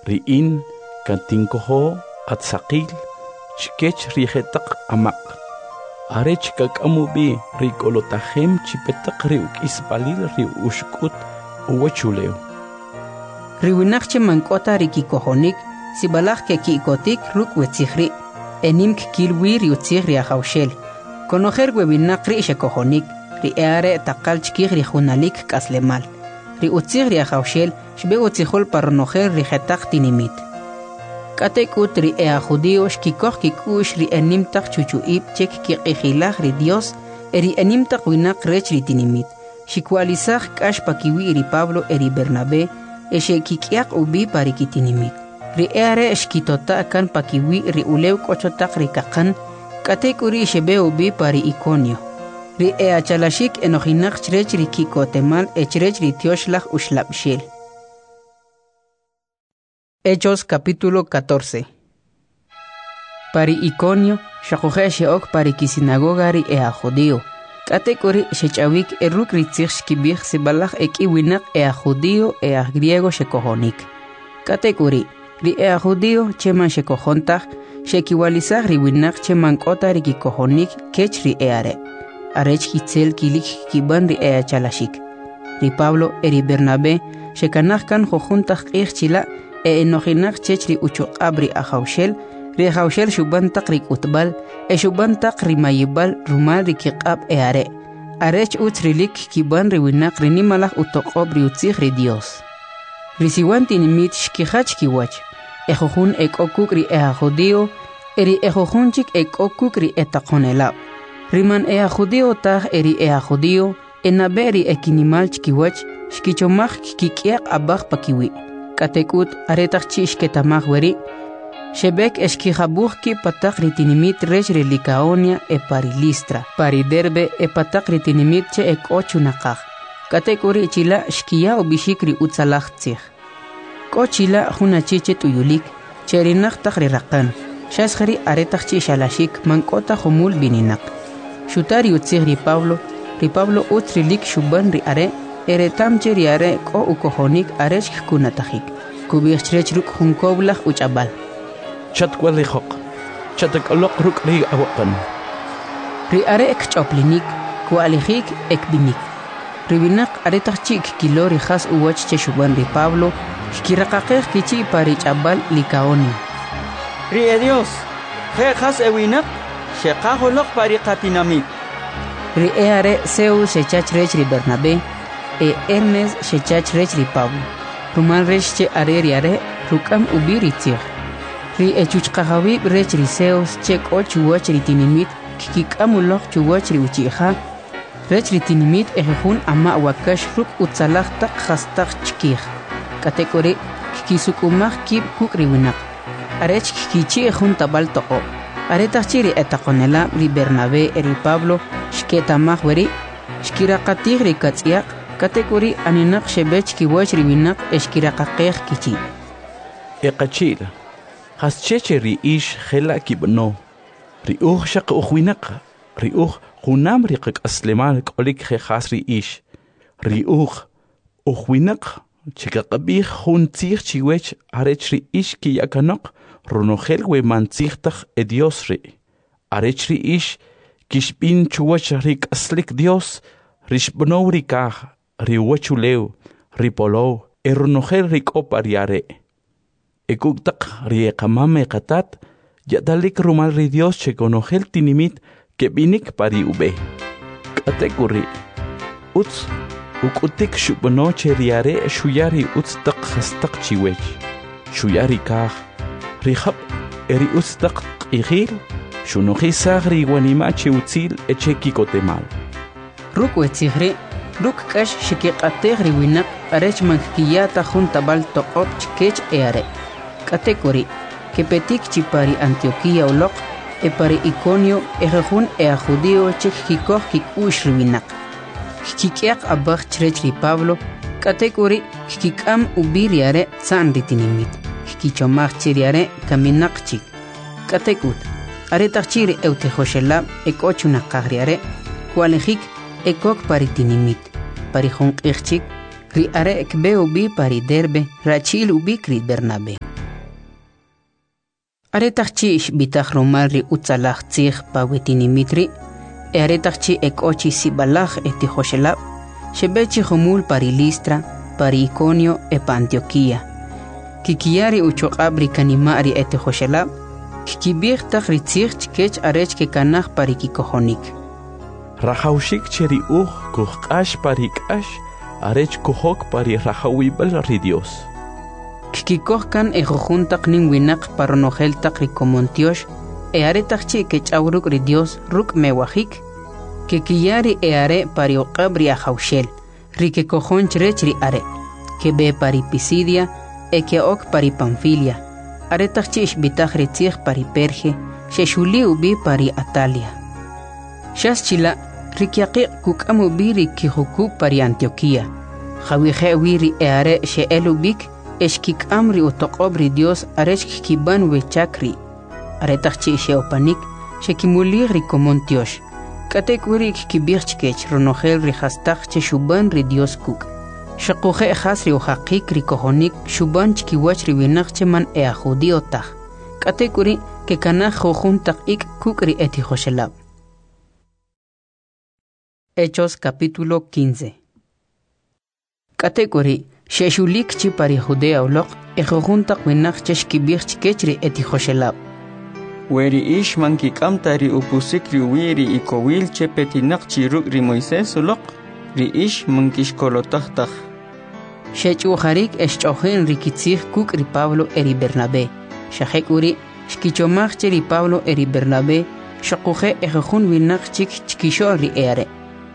Ri in katinkojo at saqil chkech ri jetaq amaq', arech kak'am ub'i ri kolotajem chi pa taq ri uk'isb'alil ri uxkut uwachulew. Ri winaq che man k'o ta ri kikojonik sib'alaj keki'kotik ruk' we tzij ri' e nim kkil wi ri utzij ri Ajawxel. Konojel we winaq ri' xekojonik, ri e'are' taqal chkij ri junalik k'aslemal. Ri utzij ri Ajawxel xb'e utzijol pa ronojel ri jetaq tinimit. K'atek'ut ri e'ajjudi'o xkikoj kik'u'x ri enim taq chuchu'ib' che kkiq'ijilaj ri Dyos e ri enim taq winaq rech ri tinimit, xkiwa'lisaj k'ax pakiwi' ri Pablo e ri Bernab'e e xe'kik'yaq ub'i pa ri kitinimit. Ri e'are' xkitota' kan pakiwi' ri ulew k'o cho taq ri kaqan, k'atek'uri' xeb'e ub'i pa ri Ikonio. Ri e'achalaxik enojinaq chrech ri ki'kotemal e chrech ri Tyoxlaj Uxlab'xel. Hechos capítulo 14. Pa ri Iconio xoquje' xe'ok pa ri kisinagoga ri e'ajjudi'o. K'atek'uri' xech'awik e ruk' ri tzij xkib'ij sib'alaj ek'i winaq e'ajjudi'o e e'ajgriego xekojonik. K'atek'uri', ri e'ajjudi'o che man xekojon taj, xe'kiwa'lisaj ri winaq che man k'o ta ri kikojonik kech ri e'are', arech itzel kilik kkib'an ri e'achalaxik. Ri Pablo e ri Bernabé xekanaj kan jujun taq q'ij chila' e enojinaq chech ri uchuq'ab' ri Ajawxel, ri Ajawxel xub'an taq ri k'utb'al e xub'an taq ri mayib'al rumal ri kiq'ab' e'are', arech utz rilik kkib'an ri winaq ri nimalaj utoq'ob' ri utzij ri Dyos. Ri siwan tinimit xkijach kiwach, ejujun ek'o kuk' ri e'ajjudi'o e ri ejujun chik ek'o kuk' ri etaqonelab'. Ri man e'ajjudi'o taj e ri e'ajjudi'o Enab'e ri ekinimal chkiwach xkichomaj kkik'yaq ab'aj pakiwi'. K'atek'ut, aretaq chi' xketa'maj weri', xeb'ek e xkijab'uj kib' pa taq ri tinimit rech ri Licaonia e pa ri Listra, pa ri Derbe e pa taq ri tinimit che ek'o chunaqaj. K'atek'uri' chila' xkiya ub'ixik ri utzalaj tzij. K'o chila' jun achi che t'uyulik, che erinaq taq ri raqan, xas jeri' aretaq chi' xalaxik man k'o ta jumul b'ininaq. Xuta ri utzij ri Pablo, ri Pablo utz rilik xub'an ri are' e reta'm che ri are' k'o ukojonik arech kkunatajik. Kub'ij chrech ruk' jun kowlaj uch'ab'al. Chatwa'lijoq, chatak'aloq ruk' ri awaqan. Ri are' kch'oplinik, kwa'lijik e kb'inik. Ri winaq aretaq chi' kkilo ri jas uwach che xub'an ri Pablo, kkiraqaqej kichi' pa ri ch'ab'al Licaonio. Ri edyos, je' jas ewinaq, xeqaj uloq pa ri qatinamit. Ri e'are' Zeus xecha chrech ri Bernabé e Hermes xecha chrech ri Pablo, rumal rech che are ri are' ruk'am ub'i ri tzij. Ri echuchqajawib' rech ri Zeus che k'o chuwach ri tinimit kkik'am uloq chuwach ri uchi'ja rech ri tinimit e jujun ama' wakax ruk' utzalaj taq jastaq chkij, k'atek'uri' kkisuk'umaj kib' kuk' ri winaq, arech kkichi'j jun tab'al toq'ob'. Aretaq chi' ri etaqonelab' ri Bernabé e ri Pablo xketa'maj weri', xkiraqatij ri katz'yaq, k'atek'uri' aninaq xeb'e chkiwach ri winaq e xkiraqaqej kichi'. Eqachi'l, jasche che ri ix jela' kib'ano? Ri uj xaq uj winaq, ri uj junam ri qak'aslemal k'olik je' jas ri ix. Ri uj, uj winaq che kaqab'ij jun tzij chiwech arech ri ix kiya kanoq ronojel we man tzij taj e Dios ri', arech ri ix kixb'in chuwach ri k'aslik Dios, ri xb'anow ri kaj, ri uwachulew, ri polow e ronojel ri k'o pa ri are'. E kuk' taq ri e qamam e qatat, ya'talik rumal ri Dios che konojel tinimit keb'inik pa ri ub'e. K'atek'uri', utz uk'utik xub'ano che ri are' xuya ri utz taq jastaq chiwech, xuya ri kaj, ri jab' e ri utz taq q'ijil, xunojisaj ri iwanima' che utzil e che ki'kotemal. Ruk' we tzij ri', ruk' k'ax xekiq'atej ri winaq arech man kkiya ta jun tab'al toq'ob' chkech e'are'. K'atek'uri', kepetik chi pa ri Antioquía uloq e pa ri Iconio ejujun e'ajjudi'o che kkikoj kik'u'x ri winaq. Kkik'yaq ab'aj chrech ri Pablo, k'atek'uri' kkik'am ub'i ri are' tza'n ri tinimit, kkichomaj che ri are' kaminaq chik. K'atek'ut, aretaq chi' ri e'utijoxelab' ek'o chunaqaj ri are', kwa'lijik e kok pa ri tinimit. Pa ri jun q'ij chik, ri are' kb'e ub'i pa ri Derbe rachi'l ub'ik ri Bernabé. Aretaq chi' xb'itaj rumal ri utzalaj tzij pa we tinimit ri', e aretaq chi' ek'o chi sib'alaj etijoxelab', xeb'e chi jumul pa ri Listra, pa ri Iconio e pa Antioquía. Kkiya ri uchuq'ab' ri kanima' ri etijoxelab', kkib'ij taq ri tzij chkech arech kekanaj pa ri kikojonik. Rajawxik che ri uj kujq'ax pa ri k'ax arech kujok pa ri rajawib'al ri Dios. Kkikoj kan ejujun taq nim winaq pa ronojel taq ri komon tyox e aretaq chi' kech'aw ruk' ri Dios ruk' mewajik, kekiya ri e'are' pa ri uq'ab' ri Ajawxel, ri kekojon chrech ri Are'. Keb'e pa ri Pisidia e ke'ok pa ri Panfilia. Aretaq chi' xb'itaj ri tzij pa ri Perge, xexuli ub'i pa ri Atalia. Xas chila', ri kyaqiq' kuk'am ub'i ri kijukub' pa ri Antioquía, jawije' wi ri e'are' xe'el ub'ik e xkik'am ri utoq'ob' ri Dios arech kkib'an we chak ri'. Aretaq chi' xe'opanik, xekimulij ri komon tyox. K'atek'uri' kkib'ij chkech ronojel ri jastaq che xub'an ri Dios kuk'. Xuquje' jas ri ujaqik ri kojonik xub'an chkiwach ri winaq che man e'ajjudío taj. K'atek'uri' kekanaj jujun taq ik' kuk' ri etijoxelab'. Hechos capítulo 15. K'atek'uri', xe'xulik chi pa ri Judea uloq e jujun taq winaq che xkib'ij chkech ri etijoxelab'. We ri ix man kik'am ta ri upusik ri uwi' ri ikowil che petinaq chi ruk' ri Moisés uloq, ri ix man kixkolotaj taj. Xech'u'jarik e xch'o'jin ri kitzij kuk' ri Pablo e ri Bernabé. Xa jek'uri' xkichomaj che ri Pablo e ri Bernabé xuquje' ejujun winaq chik chkixo'l ri e'are',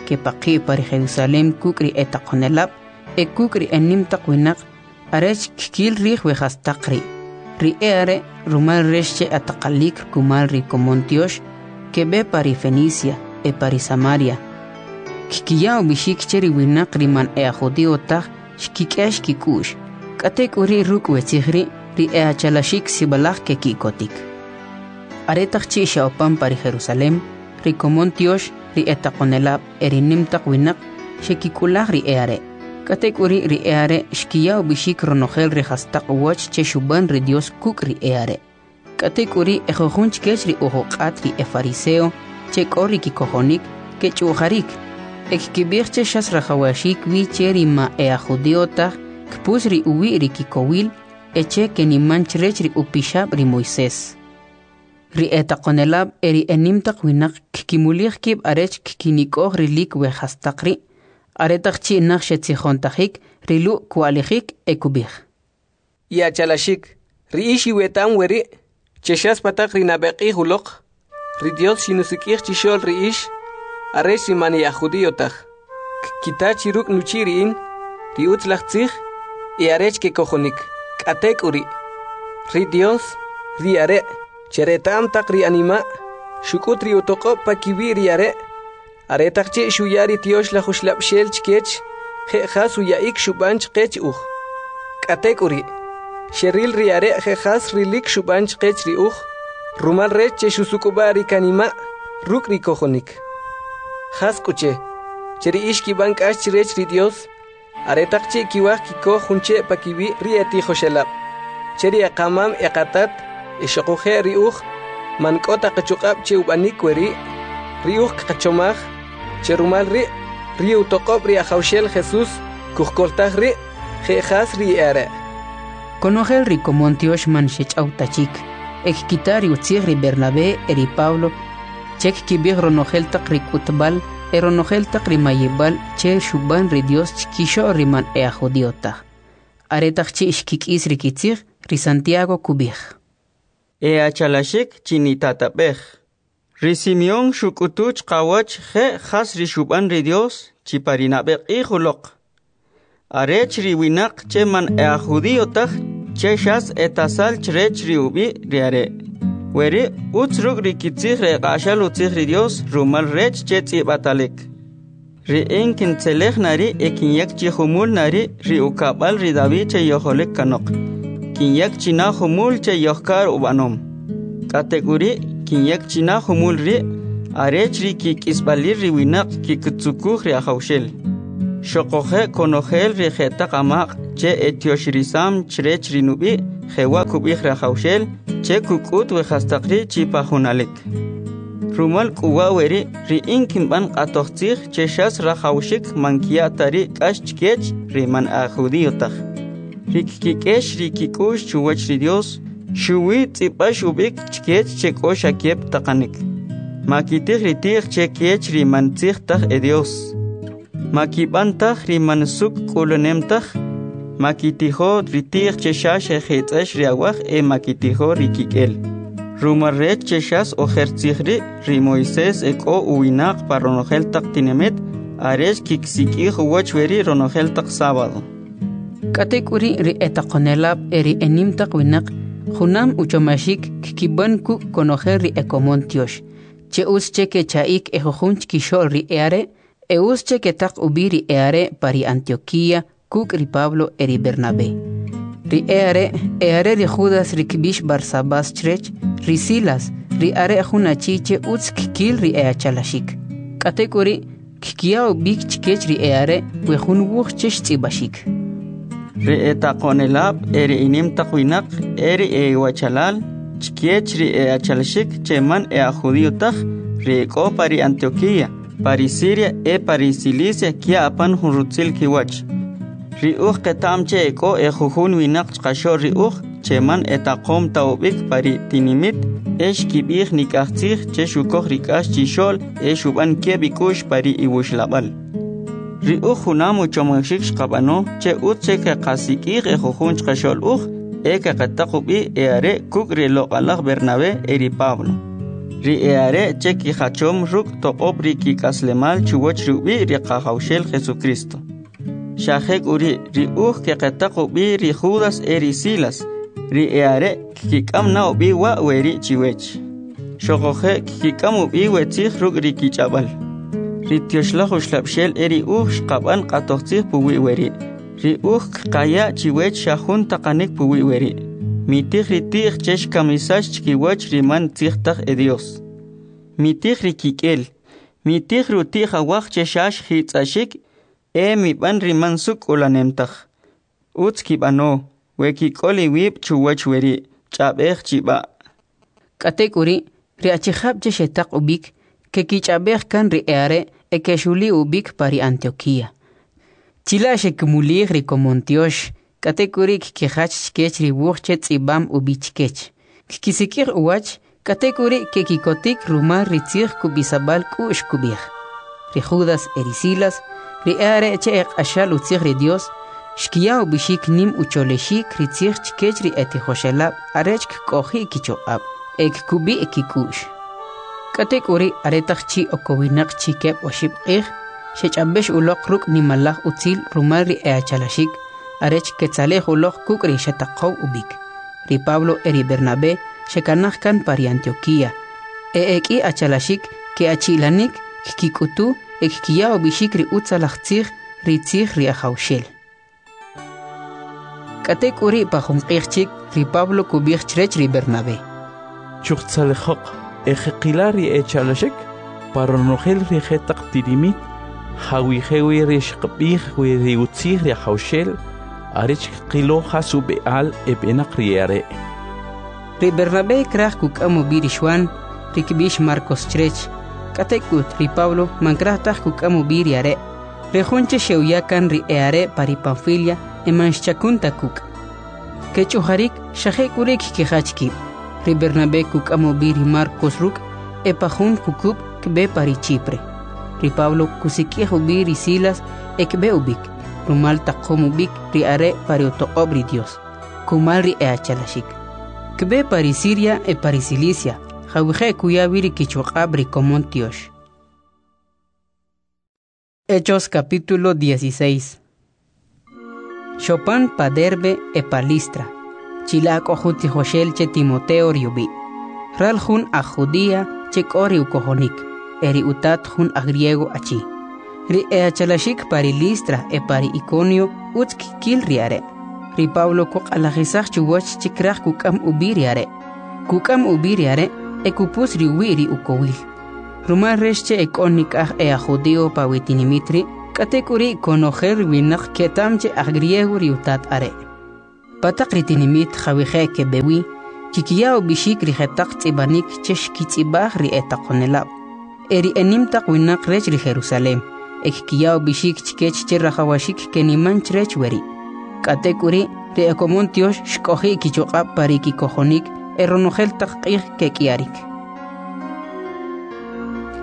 kepaqi' pa ri Jerusalem kuk' ri etaqonelab' e kuk' ri enim taq winaq arech kkil rij we jastaq ri'. Ri e'are' rumal rech che ataqalik kumal ri komon tyox, keb'e pa ri Fenicia e pa ri Samaria. Kkiya ub'ixik che ri winaq ri man e'ajjudío taj xkik'ex kik'u'x. K'atek'uri' ruk' we tzij ri', ri e'achalaxik sib'alaj keki'kotik. Aretaq chi' xe'opan pa ri Jerusalem, ri komon tyox, ri etaqonelab' e ri nim taq winaq xekik'ulaj ri e'are'. K'atek'uri' ri e'are' xkiya ub'ixik ronojel ri jastaq uwach che xub'an ri Dios kuk' ri e'are'. K'atek'uri' ejujun chkech ri ujuq'at ri efariseo che k'o ri kikojonik kech'u'jarik e kkib'ij che xas rajawaxik wi che ri ma e'ajjudío taj kpus ri uwi' ri kikowil e che keniman chrech ri upixab' ri Moisés. Ri etaqonelab' e ri enim taq winaq kkimulij kib' arech kkinik'oj rilik we jastaq ri'. Aretaq chi' naj xetzijontajik, ri Lu' kwa'lijik e kub'ij: I'achalaxik, ri ix iweta'm weri', che xas pa taq ri nab'e q'ij uloq, ri Dios xinusik'ij chixo'l ri ix, arech ri man e'ajjudío taj, kkita chi ruk' nuchi' ri in, ri utzalaj tzij, e arech kekojonik. K'atek'uri', ri Dios, ri Are' che reta'm taq ri anima', xuk'ut ri utoq'ob' pa kiwi' ri Are', aretaq chi' xuya ri Tyoxlaj Uxlab'xel chkech, je' jas uya'ik xub'an chqech uj. K'atek'uri', xeril ri Are' je' jas rilik xub'an chqech ri uj, rumal rech che xusuk'ub'a' ri kanima' ruk' ri kojonik. Jas k'u che, che ri ix kib'an k'ax chrech ri Dios, aretaq chi' kiwaj kikoj jun che' pa kiwi' ri etijoxelab', che ri eqamam eqatat e xuquje' ri uj man k'o ta qachuq'ab' che ub'anik weri', ri uj kqachomaj che rumal ri' ri utoq'ob' ri Ajawxel Jesús kujkoltaj ri' je' jas ri e'are'. Konojel ri komon tyox man xech'aw ta chik, e kkita ri utzij ri Bernabé e ri Pablo che kkib'ij ronojel taq ri k'utb'al e ronojel taq ri mayib'al che xub'an ri Dios chkixo'l ri man e'ajjudío taj. Aretaq chi' xkik'is ri kitzij, ri Santiago kub'ij: E'achalaxik chinitatab'ej. Ri Simeón xuk'utu chqawach je' jas ri xub'an ri Dios chi pa ri nab'e q'ij uloq. Arech ri winaq che man e'ajjudío taj che xas etasal chrech ri ub'i' ri Are'. Weri' utz ruk' ri kitzij ri eq'axal utzij ri Dios rumal rech che tz'ib'atalik. Ri in kintzelej na ri' e kinyak chi jumul na ri' ri ukab'al ri David che yojolik kanoq. Kinyak chi na jumul che yojkar ub'anom. K'atek'uri' kinyak chi na jumul ri' arech ri kik'isb'alil ri winaq kikitzukuj ri Ajawxel. Xuquje' konojel ri je'taq amaq' che etyoxirisam chrech ri nub'i' Jewa' kub'ij ri Ajawxel che kuk'ut we jastaq ri' chi pa junalik. Rumal k'u wa' weri' ri in kinb'an q'atoj tzij che xas rajawxik man kya' ta ri k'ax chkech ri man aj judío taj. Ri kkik'ex ri kik'u'x chuwach ri Dios, xuwi tz'ib'ax ub'ik chkech che k'o xa keb' taqanik. Makitij ri ti'j che kech ri man tzij taj e Dios. Makib'an taj ri man suk' k'ulanem taj. Makitijo ri ti'j che xa xejitz'ex ri awaj e makitijo ri kik'el. Rumal rech che xas ojer tzij ri' ri Moisés e k'o uwinaq pa ronojel taq tinimit arech kiksik'ij uwach weri' ronojel taq sábado. K'atek'uri' ri etaqonelab' e ri enim taq winaq junam uchomaxik kkib'an kuk' konojel ri ekomon tyox, che utz che kecha'ik e jujun chkixo'l ri e'are', e utz che ketaq ub'i ri e'are' pa ri Antioquía kuk' ri Pablo e ri Bernabé. Ri e'are' e'are ri Judas ri kb'ix Barsabás chrech, ri Silas, ri are' jun achi che utz kkil ri e'achalaxik. K'atek'uri' kkiya ub'ik chkech ri e'are' we jun wuj che xtz'ib'axik. Ri etaqonelab' e ri inim taq winaq e ri ewachalal chkech ri e'achalaxik che man e'aj judío taj, ri ek'o pa ri Antioquía, pa ri Siria e pa ri Cilicia kya apan jun rutzil kiwach. Ri uj qeta'm che ek'o e jujun winaq chqaxo'l ri uj che man etaqom ta ub'ik pa ri tinimit e xkib'ij nik'aj tzij che xukoj ri k'ax chixo'l e xub'an keb' ik'u'x pa ri iwuxlab'al. Ri uj junam uchomaxik xqab'ano che utz che keqasik'ij e jujun chqaxo'l uj e keqetaq ub'i e are' kuk' ri loq'alaj Bernabé e ri Pablo. Ri e'are' che kijachom ruk' toq'ob' ri kik'aslemal chuwach ri ub'i' ri Qajawxel Jesucristo. Xa jek'uri' ri uj keqetaq ub'i ri Judas e ri Silas, ri e'are' kkik'am na ub'i wa' weri' chiwech. Xoquje' kkik'am ub'i we tzij ruk' ri kich'ab'al. Ri Tyoxlaj Uxlab'xel e ri uj xqab'an q'atoj tzij puwi' weri'. Ri uj kqaya' chiwech xa jun taqanik puwi' weri'. Mitij ri ti'j che xkamisax chkiwach ri man tzij taj e Dios. Mitij ri kik'el. Mitij ri uti'j awaj che xa xjitz'axik e mib'an ri man suk' k'ulanem taj. Utz kib'ano, we kik'ol iwib' chuwach weri', ch'ab'ej chib'a'. K'atek'uri', ri achijab' che xetaq ub'ik, kekich'ab'ej kan ri e'are' e kexuli ub'ik pa ri Antioquía. Chila' xekimulij ri komon tyox, k'atek'uri' kkijach chkech ri wuj che tz'ib'am ub'i chkech. Kkisik'ij uwach, k'atek'uri' kekikotik rumal ri tzij kub'isab'al k'u'x kub'ij. Ri Judas e ri Silas, ri e'are' che eq'axal utzij ri Dios, xkiya ub'ixik nim ucholexik ri tzij chkech ri etijoxelab' arech kk'oji' kichoq'ab' e kkub'i' kik'u'x. K'atek'uri' aretaq chi' okowinaq chi keb' oxib' q'ij, xech'ab'ex uloq ruk' nimalaj utzil rumal ri e'achalaxik, arech ketzalej uloq kuk' ri xetaqow ub'ik. Ri Pablo e ri Bernabé xekanaj kan pa ri Antioquía. E ek'i achalaxik ke'achi'lanik kkik'utu e kkiya ub'ixik ri utzalaj tzij, ri tzij ri Ajawxel. K'atek'uri' pa jun q'ij chik, ri Pablo kub'ij chrech ri Bernabé: Chujtzalejoq e jeqila ri echalaxik pa ronojel ri jetaq tinimit jawije' wi ri xqab'ij wi ri utzij ri Ajawxel arech kqilo jas ub'e'al eb'enaq ri e'are'. Ri Bernabé kraj kuk'am ub'i ri Xuan, ri kb'ix Marcos chrech. K'atek'ut ri Pablo man kraj taj kuk'am ub'i ri are'. Ri jun che xe'uya kan ri e'are' pa ri Panfilia e man xchakun ta kuk'. Kech'ujarik xa jek'uri' kkijach kib'. Ri Bernabé kuk'am ub'i ri Marcos ruk' e pa jun jukub' kb'e pa ri Chipre. Ri Pablo kusik'ij ub'i ri Silas e kb'e ub'ik, rumal taqom ub'ik ri are' pa ri utoq'ob' ri Dios, kumal ri e'achalaxik. Kb'e pa ri Siria e pa ri Cilicia, jawije' kuya wi ri kichuq'ab' ri komon tyox. Hechos capítulo 16. Xopan pa Derbe e pa Listra. Chila' k'o jun tijoxel che Timoteo ri ub'i'. Ral jun aj Judía che k'o ri ukojonik, e ri utat jun aj griego achi. Ri e'achalaxik pa ri Listra e pa ri Iconio utz kkil ri are'. Ri Pablo kuq'alajisaj chuwach che kraj kuk'am ub'i ri are'. Kuk'am ub'i ri are' e kupus ri uwi' ri ukowil. Rumal rech che ek'o nik'aj e aj judío pa wi tinimit ri', k'atek'uri' konojel ri winaq keta'm che aj griego ri utat are'. Pa taq ri tinimit jawije' keb'e wi, kkiya ub'ixik ri jetaq tz'ib'anik che xkitz'ib'aj ri etaqonelab' e ri enim taq winaq rech ri Jerusalem, e kkiya ub'ixik chkech che rajawaxik keniman chrech weri'. K'atek'uri', ri ekomon tyox xk'oji' kichuq'ab' pa ri kikojonik e ronojel taq q'ij kek'iyarik.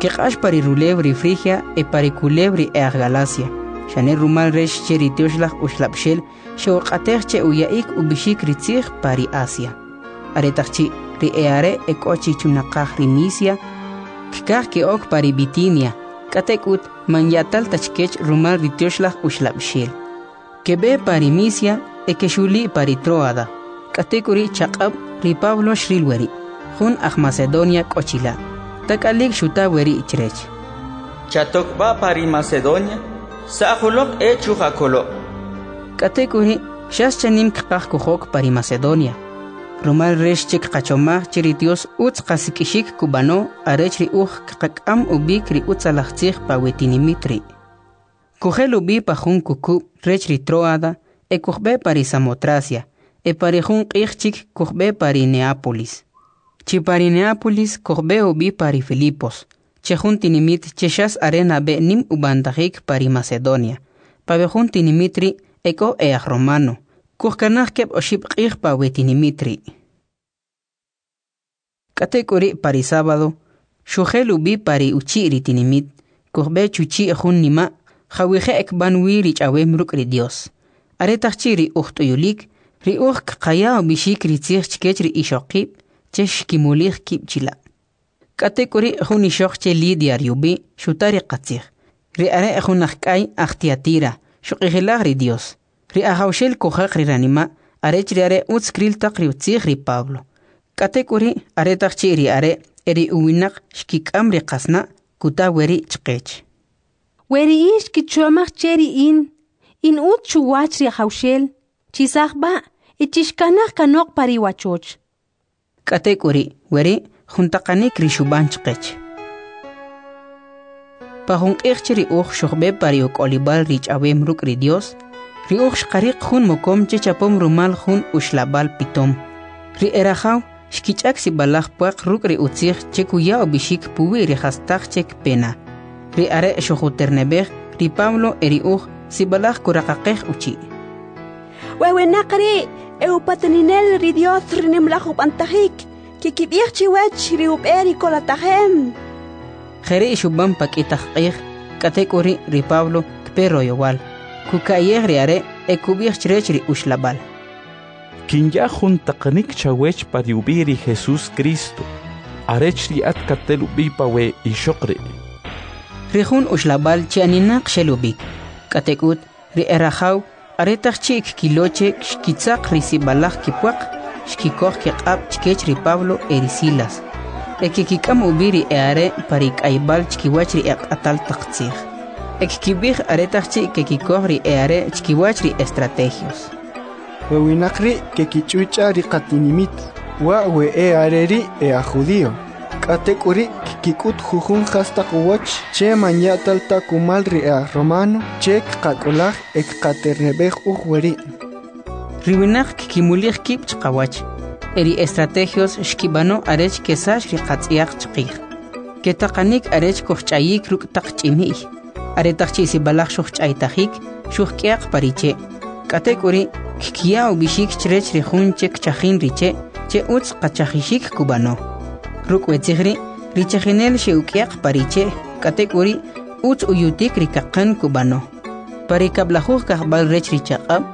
Keq'ax pa ri rulew ri Frigia e pa ri kulew ri e'aj Galacia, xane rumal rech che ri Tyoxlaj Uxlab'xel xe'uq'atej che uya'ik ub'ixik ri tzij pa ri Asia. Aretaq chi' ri e'are' ek'o chi chunaqaj ri Misia, kkaj ke'ok pa ri Bitinia, k'atek'ut man ya'tal ta chkech rumal ri Tyoxlaj Uxlab'xel. Keb'e pa ri Misia e kexuli' pa ri Troada. K'atek'uri' chaq'ab' ri Pablo xril weri', jun aj Macedonia k'o chila'. Tak'alik xuta weri' chrech: Chatok b'a pa ri Macedonia, sa'j uloq e chujakolo'. K'atek'uri' xas chanim kqaj kujok pa ri Macedonia, rumal rech che kqachomaj che ri Dios utz qasik'ixik kub'ano arech ri uj kqak'am ub'ik ri utzalaj tzij pa we tinimit ri'. Kujel ub'i pa jun kukub' rech ri Troada e kujb'e pa ri Samotracia, e pa ri jun q'ij chik kujb'e pa ri Neápolis. Chi pa ri Neápolis kujb'e ub'i pa ri Filipos, che jun tinimit che xas are nab'e nim ub'antajik pa ri Macedonia. Pa we jun tinimit ri' ek'o e'aj romano. Kujkanaj keb' oxib' q'ij pa we tinimit ri'. K'atek'uri' pa ri sábado, xujel ub'i pa ri uchi' ri tinimit, kujb'e chuchi' jun nima' jawije' kb'an wi ri ch'awem ruk' ri Dios. Aretaq chi' ri uj t'uyulik, ri uj kqaya ub'ixik ri tzij chkech ri ixoqib' che xkimulij kib' chila'. K'atek'uri' jun ixoq che Lidia ri ub'i' xuta ri qatzij. Ri are' jun ajk'ay aj Tiatira, xuq'ijilaj ri Dios. Ri Ajawxel kujaq ri ranima' arech ri are' utz kril taq ri utzij ri Pablo. K'atek'uri' aretaq chi' ri are' e ri uwinaq xkik'am ri qasna' kuta weri' chqech. We ri ix kichomaj che ri in, in utz chuwach ri Ajawxel, chisaj b'a' e chixkanaj kanoq pa ri wachoch. K'atek'uri' weri' jun taqanik ri xub'an chqech. Pa jun q'ij che ri uj xujb'e pa ri uk'olib'al ri ch'awem ruk' ri Dios, ri uj xqariq jun mokom che chapom rumal jun uxlab'al pitom. Ri e rajaw xkich'ak sib'alaj pwaq ruk' ri utzij che kuya ub'ixik puwi' ri jastaq che kpena. Ri are' xujuterneb'ej ri Pablo e ri uj sib'alaj kuraqaqej uchi'. We winaq ri' e upataninel ri Dios ri nimlaj ub'antajik, kikib'ij chiwach ri ub'e ri kolatajem. Jeri' xub'an pa k'i taq q'ij, k'atek'uri' ri Pablo kpe royowal, kuka'yej ri are' e kub'ij chrech ri uxlab'al. Kinya jun taqanik chawech pa ri ub'i' ri Jesús Cristo, arech ri at katel ub'i pa we ixoq ri'. Ri jun uxlab'al che aninaq xel ub'ik, k'atek'ut ri e rajaw aretaq chi' kkilo che xkitzaq ri sib'alaj kipwaq, xkikoj kiq'ab' chkech ri Pablo e ri Silas, e kekik'am ub'i ri e'are' pa ri k'ayb'al chkiwach ri eq'atal taq tzij. E kkib'ij aretaq chi' kekikoj ri e'are' chkiwach ri estrategios. We winaq ri' kekich'uch'a ri qatinimit, wa' we e'are ri' e'aj judío. K'atek'uri' kkik'ut jujun jastaq uwach che man ya'tal ta kumal ri e'aj romano che kqak'ulaj e kqaterneb'ej uj weri'. Ri winaq kkimulij kib' chqawach, e ri estrategios xkib'ano arech kesax ri qatz'yaq chqij. Ketaqanik arech kujch'ayik ruk' taq ch'imi'y. Aretaq chi' sib'alaj xujch'aytajik, xujk'yaq pa ri che'. K'atek'uri' kkiya ub'ixik chrech ri jun che kchajin ri che' che utz qachajixik kub'ano. Ruk' we tzij ri', ri chajinel xe'uk'yaq pa ri che', k'atek'uri' utz uyutik ri kaqan kub'ano. Pa ri kab'lajuj kajb'al rech ri chaq'ab',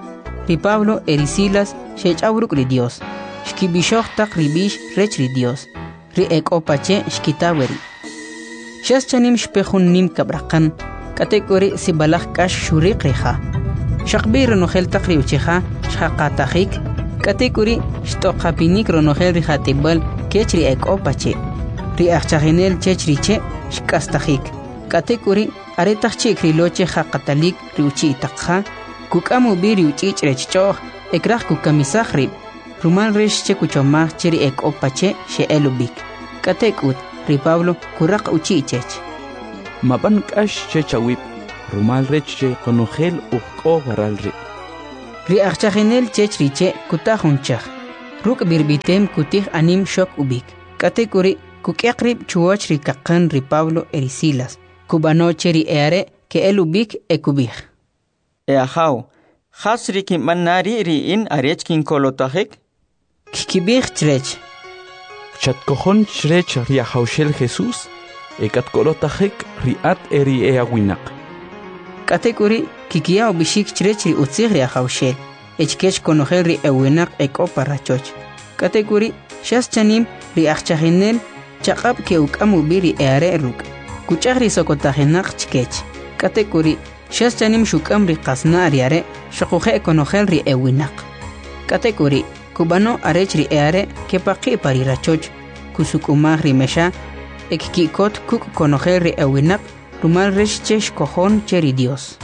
ri Pablo e ri Silas xech'aw ruk' ri Dios, xkib'ixoj taq ri b'ix rech ri Dios, ri ek'o pa che' xkita weri'. Xas chanim xpe jun nim kab'raqan, k'atek'uri' sib'alaj k'ax xuriq ri ja'. Xaqb'i ronojel taq ri uchi'ja xjaqatajik, k'atek'uri' xt'oqapinik ronojel ri jat'ib'al kech ri ek'o pa che'. Ri ajchajinel chech ri che' xk'astajik, k'atek'uri' aretaq chi' krilo che jaqatalik ri uchi' taq ja', kuk'am ub'i ri uch'ich' rech ch'o'j e kraj kukamisaj rib', rumal rech che kuchomaj che ri ek'o pa che' xe'el ub'ik. K'atek'ut ri Pablo kuraq uchi' chech. Mab'an k'ax chech awib', rumal rech che qonojel uj k'o waral ri'. Ri ajchajinel chech ri che' kuta jun chaj. Ruk' b'irb'item kutij anim xok ub'ik. K'atek'uri' kuk'yaq rib' chuwach ri kaqan ri Pablo e ri Silas. Kub'ano che ri e'are' ke'el ub'ik e kub'ij: E ajaw, jas ri kinb'an na ri' ri in arech kinkolotajik? Kkib'ij chrech: Chatkojon chrech ri Ajawxel Jesús e katkolotajik ri at e ri e'awinaq. K'atek'uri' kikiya ub'ixik chrech ri utzij ri Ajawxel e chkech konojel ri ewinaq ek'o pa rachoch. K'atek'uri' xas chanim ri ajchajinel chaq'ab' ke'uk'am ub'i ri e'are' ruk', kuch'aj ri sokotajinaq chkech. K'atek'uri' xas chanim xuk'am ri qasna' ri are' xoquje' konojel ri ewinaq. K'atek'uri' kub'ano arech ri e'are' kepaqi' pa ri rachoch, kusuk'umaj ri mexa e kki'kot kuk' konojel ri ewinaq rumal rech che xkojon che ri Dios.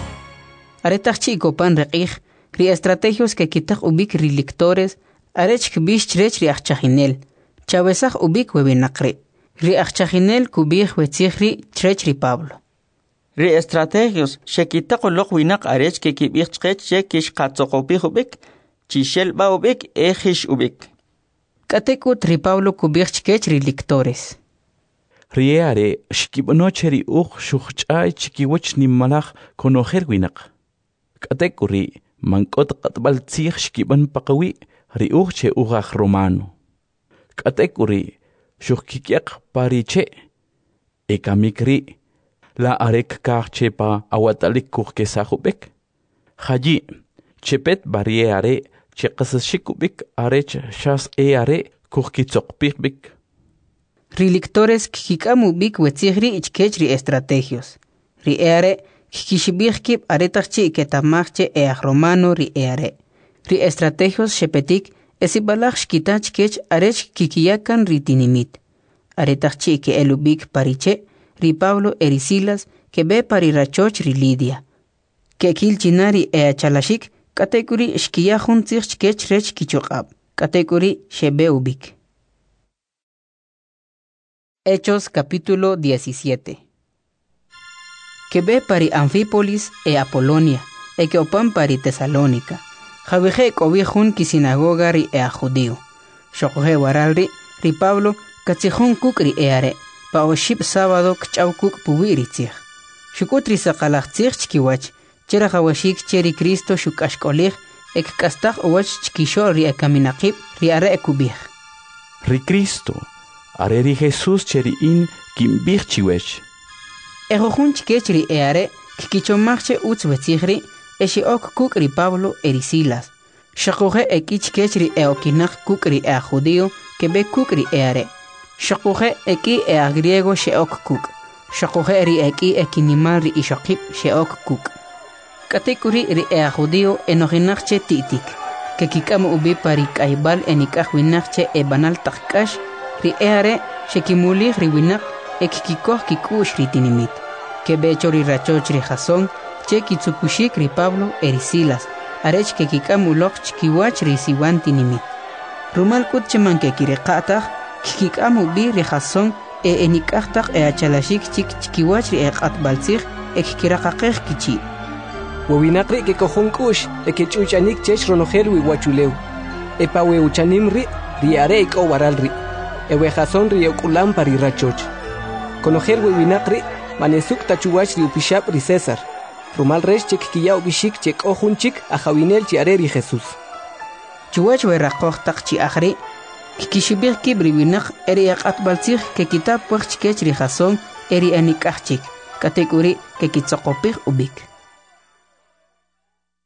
Aretaq chi' kopan ri q'ij, ri estrategios kekitaq ub'ik ri lictores arech kb'ix chrech ri ajchajinel: Chawesaj ub'ik we winaq ri'. Ri ajchajinel kub'ij we tzij ri' chrech ri Pablo: Ri estrategios xekitaq uloq winaq arech kekib'ij chqech che kixqatzoqopij ub'ik, chixel b'a ub'ik e jix ub'ik. K'atek'ut ri Pablo kub'ij chkech ri lictores: Ri e'are' xkib'ano che ri uj xujch'ay chikiwach nimalaj konojel winaq. K'atek'uri' man k'o ta q'atb'al tzij xkib'an paqawi' ri uj che uj aj romano. K'atek'uri' xujkik'yaq pa ri che'. E kamik ri', la are kkaj che pa awatalik kujkesaj ub'ik? Jayi', chepet b'a ri e'are' che qasaxik ub'ik arech xas e'are' kujkitzoqpij b'ik. Ri lictores kkik'am ub'ik we tzij ri' chkech ri estrategios. Ri e'are' kkixib'ij kib' aretaq chi' keta'maj che e'aj romano ri e'are'. Ri estrategios xepetik e sib'alaj xkita chkech arech kikiya kan ri tinimit. Aretaq chi' ke'el ub'ik pa ri che', ri Pablo e ri Silas keb'e pa ri rachoch ri Lidia. Ke'kil china ri e'achalaxik, k'atek'uri' xkiya jun tzij chkech rech kichuq'ab', k'atek'uri' xeb'e ub'ik. Hechos capítulo 17. Keb'e pa ri Anfípolis e Apolonia, e ke'opan pa ri Tesalónica. Jawije' k'o wi jun kisinagoga ri e'aj judío. Xoquje' waral ri' ri Pablo katzijon kuk' ri e'are' pa oxib' sábado kch'aw kuk' puwi' ri tzij. Xuk'ut ri saqalaj tzij chkiwach, che rajawaxik che ri Cristo xuk'axk'olij e kk'astaj uwach chkixo'l ri ekaminaqib' ri are' kub'ij: Ri Cristo, are ri Jesús che ri in kinb'ij chiwech. E jujun chkech ri e'are' kkichomaj che utz we tzij ri' e xe'ok kuk' ri Pablo e ri Silas. Xoquje' e k'i chkech ri e'okinaq kuk' ri e'aj judío keb'e kuk' ri e'are'. Xoquje' e k'i e'aj griego xe'ok kuk'. Xoquje' ri e k'i ekinimal ri ixoqib' xe'ok kuk'. K'atek'uri' ri e'aj judío enojinaq che ti'tik. Kekik'am ub'i pa ri k'ayb'al enik'aj winaq che eb'anal taq k'ax, ri e'are' xekimulij ri winaq e kkikoj kik'u'x ri tinimit. Keb'e cho ri rachoch ri Jasón che kitzukuxik ri Pablo e ri Silas, arech kekik'am uloq chkiwach ri siwan tinimit. Rumal k'ut che man kekiriqa' taj, kkik'am ub'i ri Jasón e enik'aj taq e'achalaxik chik chkiwach ri eq'atb'al tzij e kkiraqaqej kichi'. We winaq ri' kekojon k'u'x e kech'uch'anik chech ronojel wi uwachulew. E pa we uchanim ri' ri e'are' ek'o waral ri'. E we Jasón ri e'uk'ulam pa ri rachoch. Konojel we winaq ri' man esuk' ta chuwach ri upixab' ri César, rumal rech che kkiya ub'ixik che k'o jun chik ajawinel chi are ri Jesús. Chuwach we raqoj taq chi'aj ri', kkixib'ij kib' ri winaq e ri eq'atb'al tzij kekita pwaq chkech ri Jasón e ri enik'aj chik, k'atek'uri' kekitzoqopij ub'ik.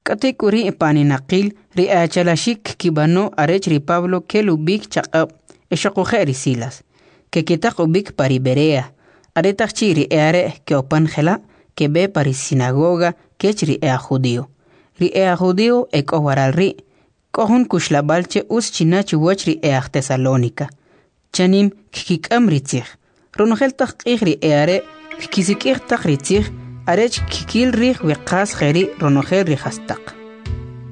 K'atek'uri' pa aninaqil ri e'achalaxik kkib'ano arech ri Pablo kel ub'ik chaq'ab' e xoquje' ri Silas. Kekitaq ub'ik pa ri Berea. Aretaq chi' ri e'are' ke'opan jela', keb'e pa ri sinagoga kech ri e'aj judío. Ri e'aj judío ek'o waral ri', k'o jun kuxlab'al che utz china chuwach ri e'aj Tesalónica. Chanim kkik'am ri tzij. Ronojel taq q'ij ri e'are' kkisik'ij taq ri tzij arech kkil rij we qas jeri' ronojel ri jastaq.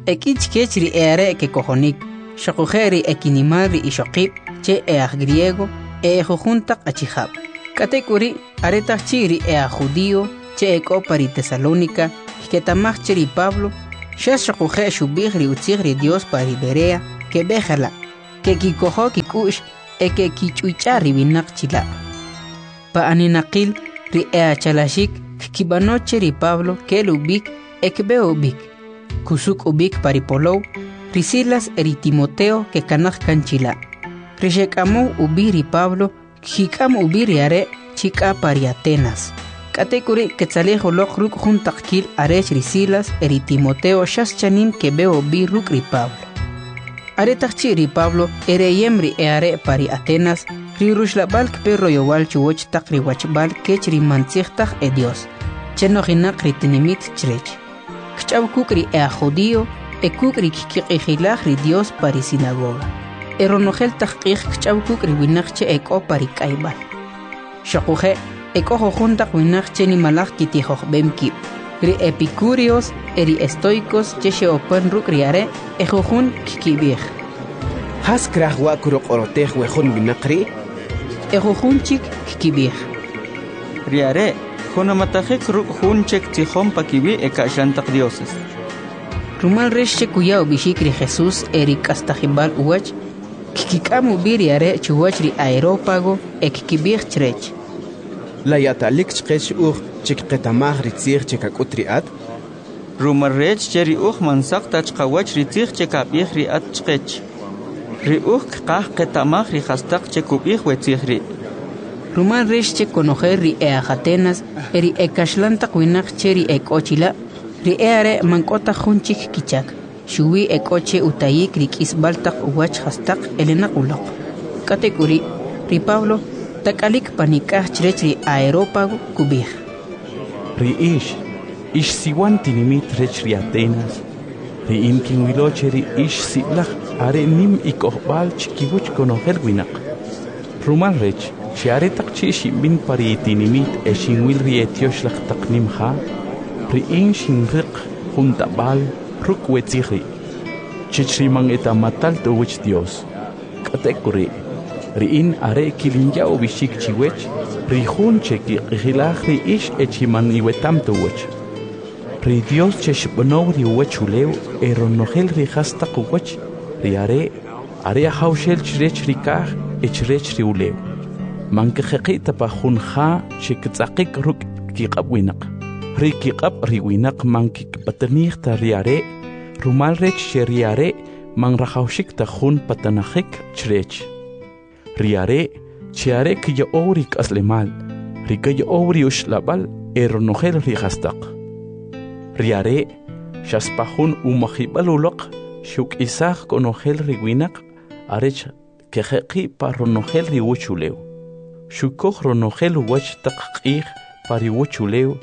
E k'i chkech ri e'are' kekojonik, xoquje' ri ekinimal ri ixoqib' che e'aj griego e ejujun taq achijab'. K'atek'uri' aretaq chi' ri e'aj judío che ek'o pa ri Tesalónica kketa'maj che ri Pablo Xas xuquje' xub'ij ri utzij ri Dios pa ri Berea keb'e jela', ke'kikojo kik'u'x e ke'kich'uch'a ri winaq chila'. Pa aninaqil ri e achalaxik kkib'ano che ri Pablo kel ub'ik e kb'e ub'ik. Kusuk' ub'ik pa ri polow, ri Silas e ri Timoteo kekanaj kan chila'. Ri xek'amow ub'i ri Pablo kkik'am ub'i ri are' chi k'a pa ri Atenas. K'atek'uri' ketzalij uloq ruk' jun taqkil arech ri Silas e ri Timoteo xas chanim keb'e ub'i ruk' ri Pablo. Aretaq chi' ri Pablo ereyem ri e'are' pa ri Atenas, ri ruxlab'al kpe royowal chuwach taq ri wachb'al kech ri man tzij taj e Dios, che nojinaq ri tinimit chrech. Kch'aw kuk' ri e'ajjudio e kuk' ri kkiq'ijilaj ri Dios pa ri sinagoga. E ronojel taq q'ij kch'aw kuk' ri winaq che ek'o pa ri k'ayb'al. Xuquje' ek'o jujun taq winaq che nimalaj kitijojb'em kib'. Ri epicúreos e ri estoicos che xe'opan ruk' ri are' e jujun kkib'ij: Jas kraj wa' kuroq'orotej we jun winaq ri'? E jujun chik kkib'ij: Ri are' junamatajik ruk' jun che ktzijon pa kiwi' e ka'xan taq dioses. Rumal rech che kuya ub'ixik ri Jesús e ri k'astajib'al uwach, kkik'am ub'i ri are' chuwach ri Areópago e kkib'ij chrech: La ya'talik chqech uj che kqeta'maj ri tzij che kak'ut ri at? Rumal rech che ri uj man saq ta chqawach ri tzij che kab'ij ri at chqech. Ri uj kqaj qeta'maj ri jastaq che kub'ij we tzij ri'. Rumal rech che konojel ri e'aj Atenas e ri ekaxlan taq winaq che ri ek'o chila', ri e'are' man k'o ta jun chik kichak, xuwi ek'o che utayik ri k'isb'al taq uwach jastaq elenaq uloq. K'atek'uri', ri Pablo tak'alik panik'aj chrech ri Areópago kub'ij: Ri ix, ix siwan tinimit rech ri Atenas, ri in kinwilo che ri ix sib'alaj are nim ikojb'al chikiwach konojel winaq. Rumal rech che aretaq chi' xinb'in pa ri tinimit e xinwil ri etyoxlaj taq nim ja, ri in xinriq jun tab'al ruk' we tzij ri', chech ri man eta'matal ta uwach Dios. K'atek'uri', ri in are kilinya ub'ixik chiwech ri jun che kiq'ijilaj ri ix e chi man iweta'm ta uwach. Ri Dios che xb'anow ri uwachulew e ronojel ri jastaq uwach, ri are' are ajawxel chrech ri kaj e chrech ri ulew. Man kjeqi' ta pa jun ja che ktz'aqik ruk' kiq'ab' winaq. Ri kiq'ab' ri winaq man kikpatanij ta ri are', rumal rech che ri are' man rajawxik ta jun patanajik chrech. Ri are' che are kya'ow ri k'aslemal, ri kya'ow ri uxlab'al e ronojel ri jastaq. Ri are' xas pa jun umajib'al uloq xuk'isaj konojel ri winaq arech kejeqi' pa ronojel ri uwachulew. Xukoj ronojel uwach taq q'ij pa ri uwachulew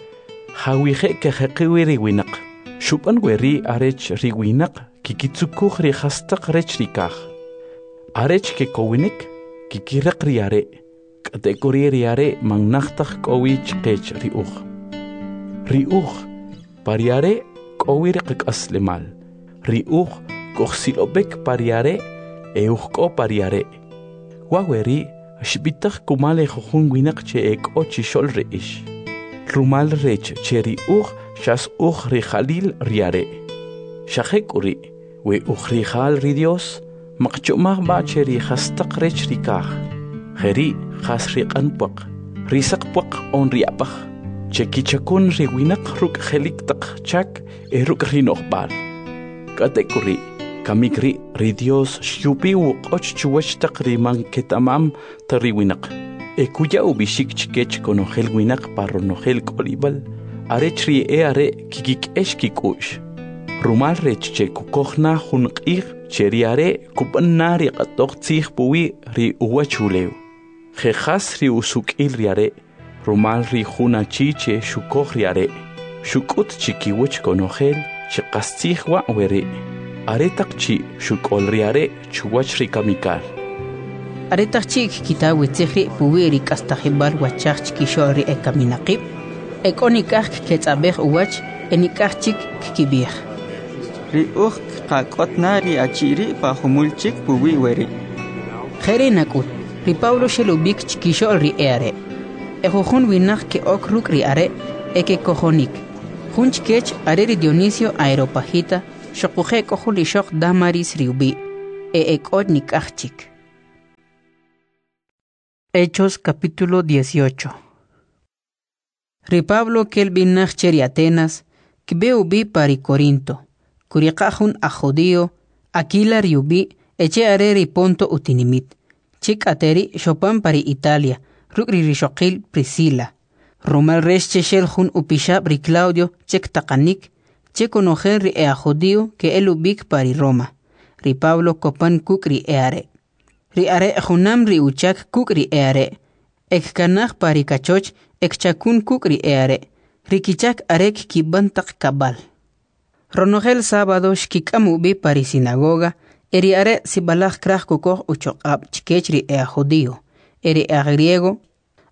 jawije' kejeqi' wi ri winaq. Xub'an weri' arech ri winaq kikitzukuj ri jastaq rech ri kaj. Arech kekowinik kikiriq ri are', k'atek'uri' ri are' man naj taj k'o wi chqech ri uj. Ri uj, pa ri are' k'o wi ri qak'aslemal. Ri uj kujsilob'ik pa ri are' e uj k'o pa ri are'. Wa' weri' xb'itaj kumal e jujun winaq che ek'o chixo'l ri ix. Rumal rech che ri uj xas uj rija'lil ri are'. Xa jek'uri', we uj rija'l ri Dios, maqchomaj b'a che ri jastaq rech ri kaj. Jeri' jas ri q'an pwaq, ri saq pwaq on ri ab'aj, che kichakun ri winaq ruk' je'lik taq chak e ruk' ri no'jb'al. K'atek'uri', kamik ri' ri Dios xyupi uq'och chuwach taq ri man keta'mam ta ri winaq. E kuya ub'ixik chikech konojel winaq pa ronojel k'olib'al, arech ri e'are' kikik'ex kik'u'x. Rumal rech che kukoj na jun q'ij che ri are' kub'an na ri q'atoj tzij puwi' ri uwachulew. Je jas ri usuk'il ri are', rumal ri jun achi che xukoj ri are', xuk'ut chikiwach konojel che qastzij wa' weri', aretaq chi' xuk'ol ri are' chuwach ri kamikal. Aretaq chi' kkita we tzij ri' puwi' ri k'astajib'al wachaj chkixo'l ri ekaminaqib', ek'o nik'aj kketz'ab'ej uwach e nik'aj chik kkib'ij: Ri uj kqak'ot na ri achi' ri' pa jumul chik puwi' weri'. Jeri' nak'ut, ri Pablo xel ub'ik chkixo'l ri e'are'. E jujun winaq ke'ok ruk' ri are' e kekojonik. Jun chkech are ri Dionisio Areopagita, xuquje' k'o jun ixoq Damaris ri ub'i', e ek'o nik'aj chik. Hechos capítulo 18. Ri Pablo kel b'i naj che ri Atenas, kb'e ub'i pa ri Corinto. Kuriqa' jun aj judío, Aquila ri ub'i', e che are ri Ponto utinimit, che k'ateri' xopan pa ri Italia, ruk' ri rixoqil Priscila. Rumal rech che xel jun upixab' ri Claudio che ktaqanik, che konojel ri e aj judío ke'el ub'ik pa ri Roma. Ri Pablo kopan kuk' ri e'are'. Ri are' junam ri uchak kuk' ri e'are', e kkanaj pa ri kachoch e kchakun kuk' ri e'are', ri kichak are kkib'an taq kab'al. Ronojel sábado xkik'am ub'i pa ri sinagoga, e ri are' sib'alaj kraj kukoj uchuq'ab' chkech ri e'aj judío, e ri e'aj griego,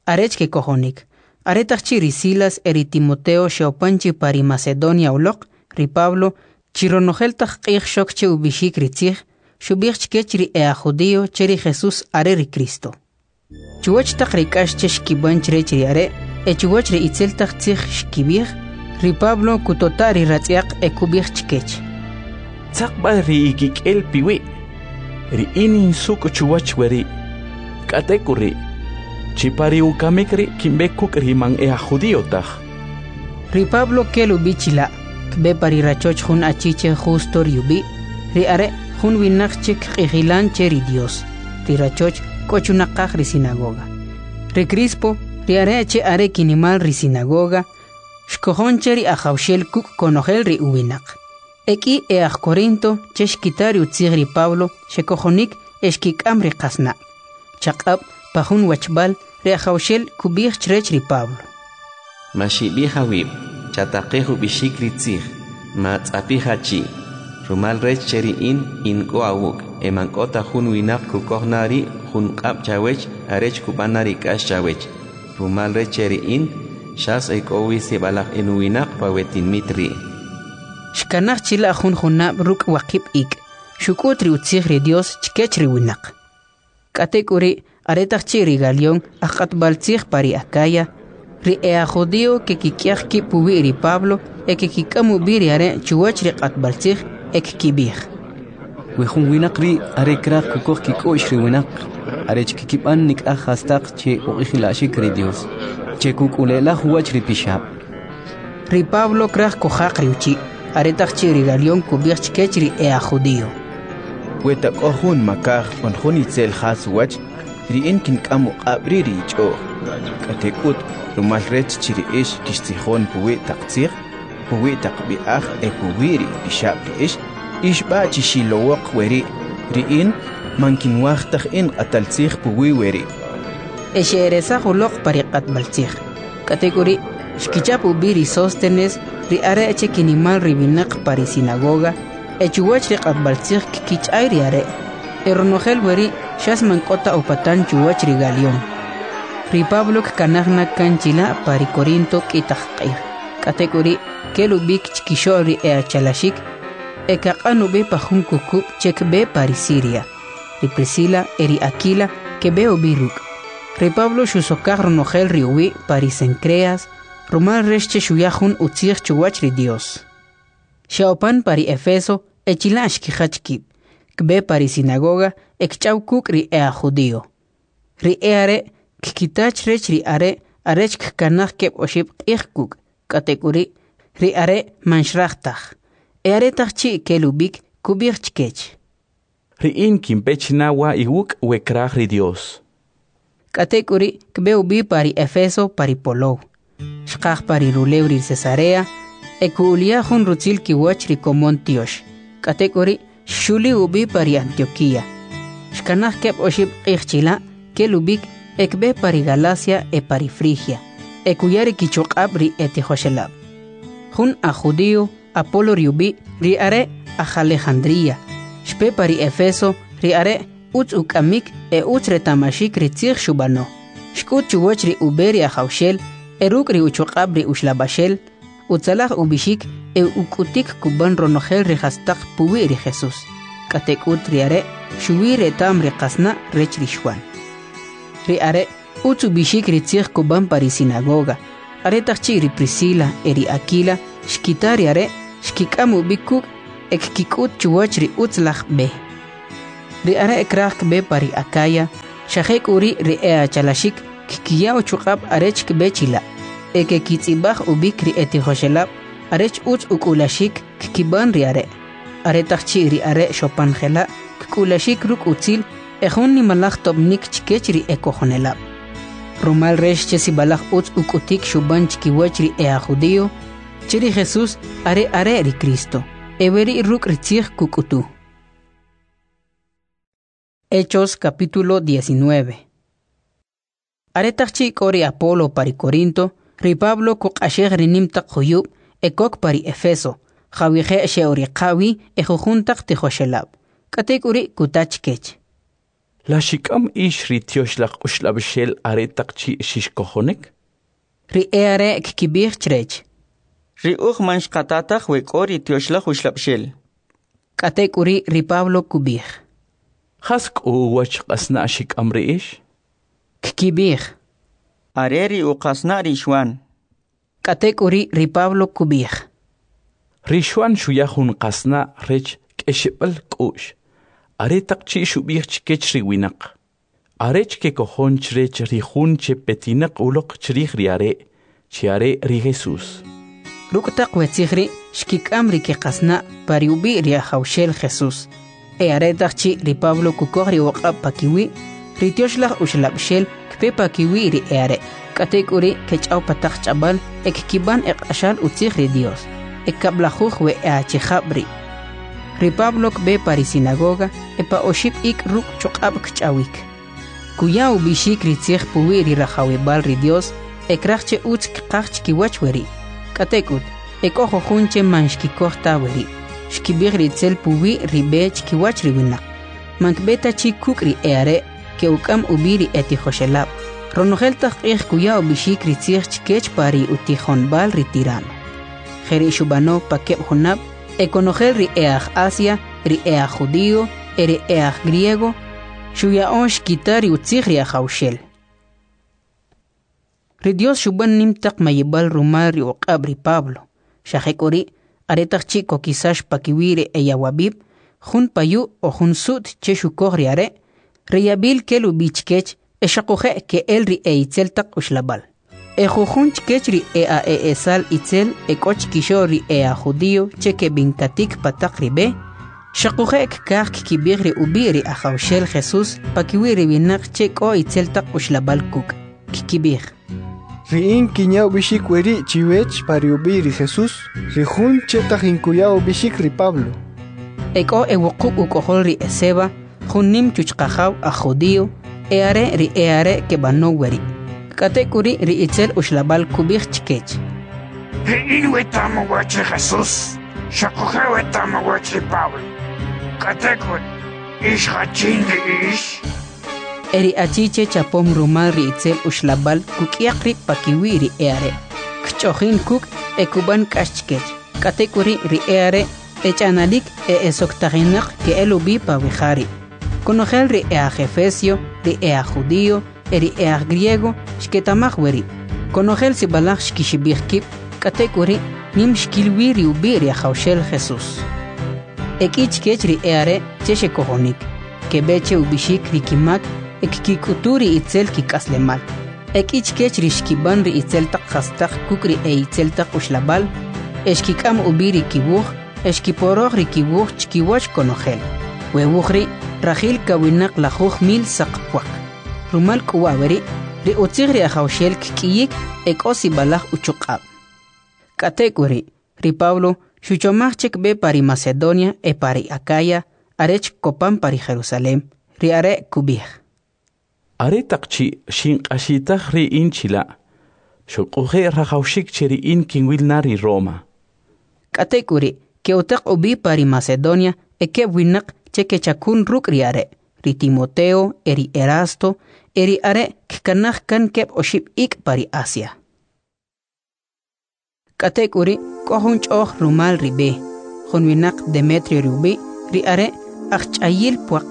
arech kekojonik. Aretaq chi' ri Silas e ri Timoteo xe'opan chi pa ri Macedonia uloq, ri Pablo, chi ronojel taq q'ij xok che ub'ixik ri tzij, xub'ij chkech ri e'aj judío che ri Jesús are ri Cristo. Chuwach taq ri k'ax che xkib'an chrech ri are' e chuwach ri itzel taq tzij xkib'ij, ri Pablo kutota' ri ratz'yaq e kub'ij chkech: Tzaq b'a ri ikik'el piwi', ri in insuk' chuwach weri', k'atek'uri', chi pa ri ukamik ri' kinb'e kuk' ri man e aj judío taj. Ri Pablo kel ub'i chila', kb'e pa ri rachoch jun achi che Justo ri ub'i', ri are' jun winaq che kq'ijilan che ri Dios. Ri rachoch k'o chunaqaj ri sinagoga. Ri Crispo, ri are' che are kinimal ri sinagoga, xkojon che ri Ajawxel kuk' konojel ri uwinaq. E k'i e aj Corinto che xkita ri utzij ri Pablo xekojonik e xkik'am ri qasna'. Chaq'ab' pa jun wachb'al ri Ajawxel kub'ij chrech ri Pablo: Maxib'ij awib', chataqej ub'ixik ri tzij, matz'apij achi', rumal rech che ri in in k'o awuk' e man k'o ta jun winaq kukoj na ri' jun q'ab' chawech arech kub'an na ri k'ax chawech, rumal rech che ri in xas e k'o wi sib'alaj enuwinaq pa we tinimit ri'. Xkanaj chila' jun junab' ruk' waqib' ik', xuk'ut ri utzij ri Dios chkech ri winaq. K'atek'uri' aretaq chi' ri Galión aj q'atb'al tzij pa ri Acaya, ri e'aj judío kekik'yaq kib' puwi' ri Pablo e kekik'am ub'i ri are' chuwach ri q'atb'al tzij e kkib'ij: We jun winaq ri' are kraj kukoj kik'u'x ri winaq, arech kkib'an nik'aj jastaq che uq'ijila'xik ri Dios, che kuk'ule'laj uwach ri pixab'. Ri Pablo kraj kujaq ri uchi', aretaq chi' ri Galión kub'ij chkech ri e'aj judío: We ta k'o jun makaj on jun itzel jas uwach, ri in kink'am uq'ab' ri' ri ich'o'j. K'atek'ut, rumal rech chi ri ix kixtzijon puwi' taq tzij, puwi' taq b'i'aj e puwi' ri ipixab' ri ix, ix b'a' chixilowoq weri', ri in man kinwaj taj in q'atal tzij puwi' weri'. E xe'eresaj uloq pa ri q'atb'al tzij. K'atek'uri', xkichap ub'i ri Sóstenes, ri are' che kinimal ri winaq pa ri sinagoga, e chuwach ri q'atb'al tzij kkich'ay ri are'. E ronojel weri' xas man k'o ta upatan chuwach ri Galión. Ri Pablo kkanaj na kan chila' pa ri Corinto k'i taq q'ij. K'atek'uri' kel ub'ik chkixo'l ri e'achalaxik e kaq'an ub'i pa jun kukub' che kb'e pa ri Siria. Ri Priscila e ri Aquila keb'e ub'i ruk'. Ri Pablo xusokaj ronojel ri uwi' pa ri Cencreas, rumal rech che xuya jun utzij chuwach ri Dios. Xe'opan pa ri Efeso e chila' xkijach kib', kb'e pa ri sinagoga e kch'aw kuk' ri e'aj judío. Ri e'are' kkita chrech ri are' arech kkanaj keb' oxib' q'ij kuk', k'atek'uri' ri are' man xraj taj. E aretaq chi' kel ub'ik kub'ij chkech: Ri in kinpe china wa iwuk' we kraj ri Dios. K'atek'uri' kb'e ub'i pa ri Efeso pa ri polow. Xqaj pa ri rulew ri Cesarea e ku'ulya jun rutzil kiwach ri komon tiox. K'atek'uri' xxuli ub'i pa ri Antioquía. Xkanaj keb' oxib' q'ij chila', kel ub'ik e kb'e pa ri Galacia e pa ri Frigia, e kuya ri kichuq'ab' ri etijoxelab'. Jun aj judío, Apolo ri ub'i', ri are' aj Alejandría, xpe pa ri Efeso, ri are' utz uk'amik e utz reta'maxik ri tzij xub'ano. Xk'ut chuwach ri ub'e ri Ajawxel e ruk' ri uchuq'ab' ri uxlab'axel, utzalaj ub'ixik e uk'utik kub'an ronojel ri jastaq puwi' ri Jesús. K'atek'ut ri are' xuwi reta'm ri qasna' rech ri Xuan. Ri are' utz ub'ixik ri tzij kub'an pa ri sinagoga. Aretaq chi' ri Priscila e ri Aquila Xkita ri are', xkik'am ub'i kuk' e kkik'ut chuwach ri utzalaj b'e. Ri are' kraj kb'e pa ri Akaya, xa jek'uri' ri e'achalaxik kkiya uchuq'ab' arech kb'e chila', e kekitz'ib'aj ub'ik ri etijoxelab' arech utz uk'ulaxik kkib'an ri are'. Aretaq chi' ri are' xopan jela', kk'ulaxik ruk' utzil e jun nimalaj tob'nik chkech ri ekojonelab'. Rumal rech che sib'alaj utz uk'utik xub'an chkiwach ri e'ajjudío, che ri Jesús are are' ri Cristo, e weri' ruk' ri tzij kuk'utu. Hechos capítulo 19. Aretaq chi' k'o ri Apolo pa ri Corinto, ri Pablo kuq'axej ri nim taq juyub' e kok pa ri Efeso, jawije' xe'uriqa' wi e jujun taq tijoxelab'. K'atek'uri' kuta chkech: La xik'am ix ri Tyoxlaj Uxlab'ixel aretaq chi' xixkojonik? Ri e'are' kkib'ij chrech: Ri uj man xqata taj we k'o ri Tyoxlaj Uxlab'ixel. K'atek'uri' ri Pablo kub'ij: Jas k'u uwach qasna' xik'am ri ix? Kkib'ij: Are ri uqasna' ri Xwan. K'atek'uri' ri Pablo kub'ij: Ri Xwan xuya jun qasna' rech k'exeb'al k'u'x, aretaq chi' xub'ij chkech ri winaq, arech kekojon chrech ri jun che petinaq uloq chrij ri are', che are ri Jesús. Ruk' taq we tzij ri' xkik'am ri kiqasna' pa ri ub'i' ri Ajawxel Jesús. E aretaq chi' ri Pablo kukoj ri uq'ab' pakiwi', ri Tyoxlaj Uxlab'ixel kpe pakiwi' ri e'are'. K'atek'uri' kech'aw pa taq ch'ab'al e kkib'an eq'axal utzij ri Dios. E kab'lajuj we e'achijab' ri'. Ri Pablo kb'e pa ri sinagoga e pa oxib' ik' ruk' chuq'ab' kch'awik. Kuya ub'ixik ri tzij puwi' ri rajawib'al ri Dios e kraj che utz kqaj chkiwach weri'. K'atek'ut, e k'o jujun che man xkikoj ta weri'. Xkib'ij ri itzel puwi' ri b'e chkiwach ri winaq. Man kb'e ta chi kuk' ri e'are' ke'uk'am ub'i ri etijoxelab'. Ronojel taq q'ij kuya ub'ixik ri tzij chkech pa ri utijonb'al ri Tirano. Jeri' xub'ano pa keb' junab' e konojel ri e'aj Asia, ri e'aj Judío e ri e'aj Griego xuya'o xkita ri utzij ri Ajawxel. Ri Dios xub'an nim taq mayib'al rumal ri uq'ab' ri Pablo. Xa jek'uri', aretaq chi' kokisax pakiwi' ri eyawab'ib', jun payu' o jun su't che xukoj ri are', ri yab'il kel ub'i chkech e xoquje' ke'el ri e'itzel taq uxlab'al. E jujun chkech ri e'ae'esal itzel e k'o chkixo'l ri e'ajjudío che keb'inkatik pa taq ri b'e, xoquje' kkaj kkib'ij ri ub'i' ri Ajawxel Jesús pakiwi' ri winaq che k'o itzel taq uxlab'al kuk'. Kkib'ij: Ri in kinya ub'ixik weri' chiwech pa ri ub'i' ri Jesús, ri jun che tajin kuya ub'ixik ri Pablo. E k'o ewuqub' uk'ojol ri Eseba, jun nim chuchqajaw aj judío, e are' ri e'are' keb'anow weri'. K'atek'uri' ri itzel uxlab'al kub'ij chkech: Ri in weta'm uwach ri Jesús, xoquje' weta'm uwach ri Pablo. K'atek'ut, ix jachin ri ix? E ri achi che chapom rumal ri itzel uxlab'al kuk'yaq rib' pakiwi' ri e'are', kch'ojin kuk' e kub'an k'ax chkech. K'atek'uri' ri e'are' ech'analik e esoktajinaq ke'el ub'i pa we ja ri'. Konojel ri e'aj Efesio, ri e'aj Judío e ri e'aj Griego xketa'maj weri'. Konojel sib'alaj xkixib'ij kib', k'atek'uri' nim xkil wi ri ub'i' ri Ajawxel Jesús. E k'i chkech ri e'are' che xekojonik, keb'e che ub'ixik ri kimak e kkik'utu ri itzel kik'aslemal. E k'i chkech ri xkib'an ri itzel taq jastaq kuk' ri e'itzel taq uxlab'al, e xkik'am ub'i ri kiwuj, e xkiporoj ri kiwuj chkiwach konojel. We wuj ri' rajil kawinaq lajuj mil saq pwaq. Rumal k'u wa' weri', ri utzij ri Ajawxel kk'iyik e k'o sib'alaj uchuq'ab'. K'atek'uri', ri Pablo xuchomaj che kb'e pa ri Macedonia e pa ri Acaya arech kopan pa ri Jerusalem. Ri are' kub'ij: Aretaq chi' xinq'axitaj ri in chila', xoquje' rajawxik che ri in kinwil na ri Roma. K'atek'uri' ke'utaq ub'i pa ri Macedonia e keb' winaq che kechakun ruk' ri are', ri Timoteo e ri Erasto, e ri are' kkanaj kan keb' oxib' ik' pa ri Asia. K'atek'uri' k'o jun ch'o'j rumal ri b'e. Jun winaq Demetrio ri ub'i', ri are' ajch'ayil pwaq.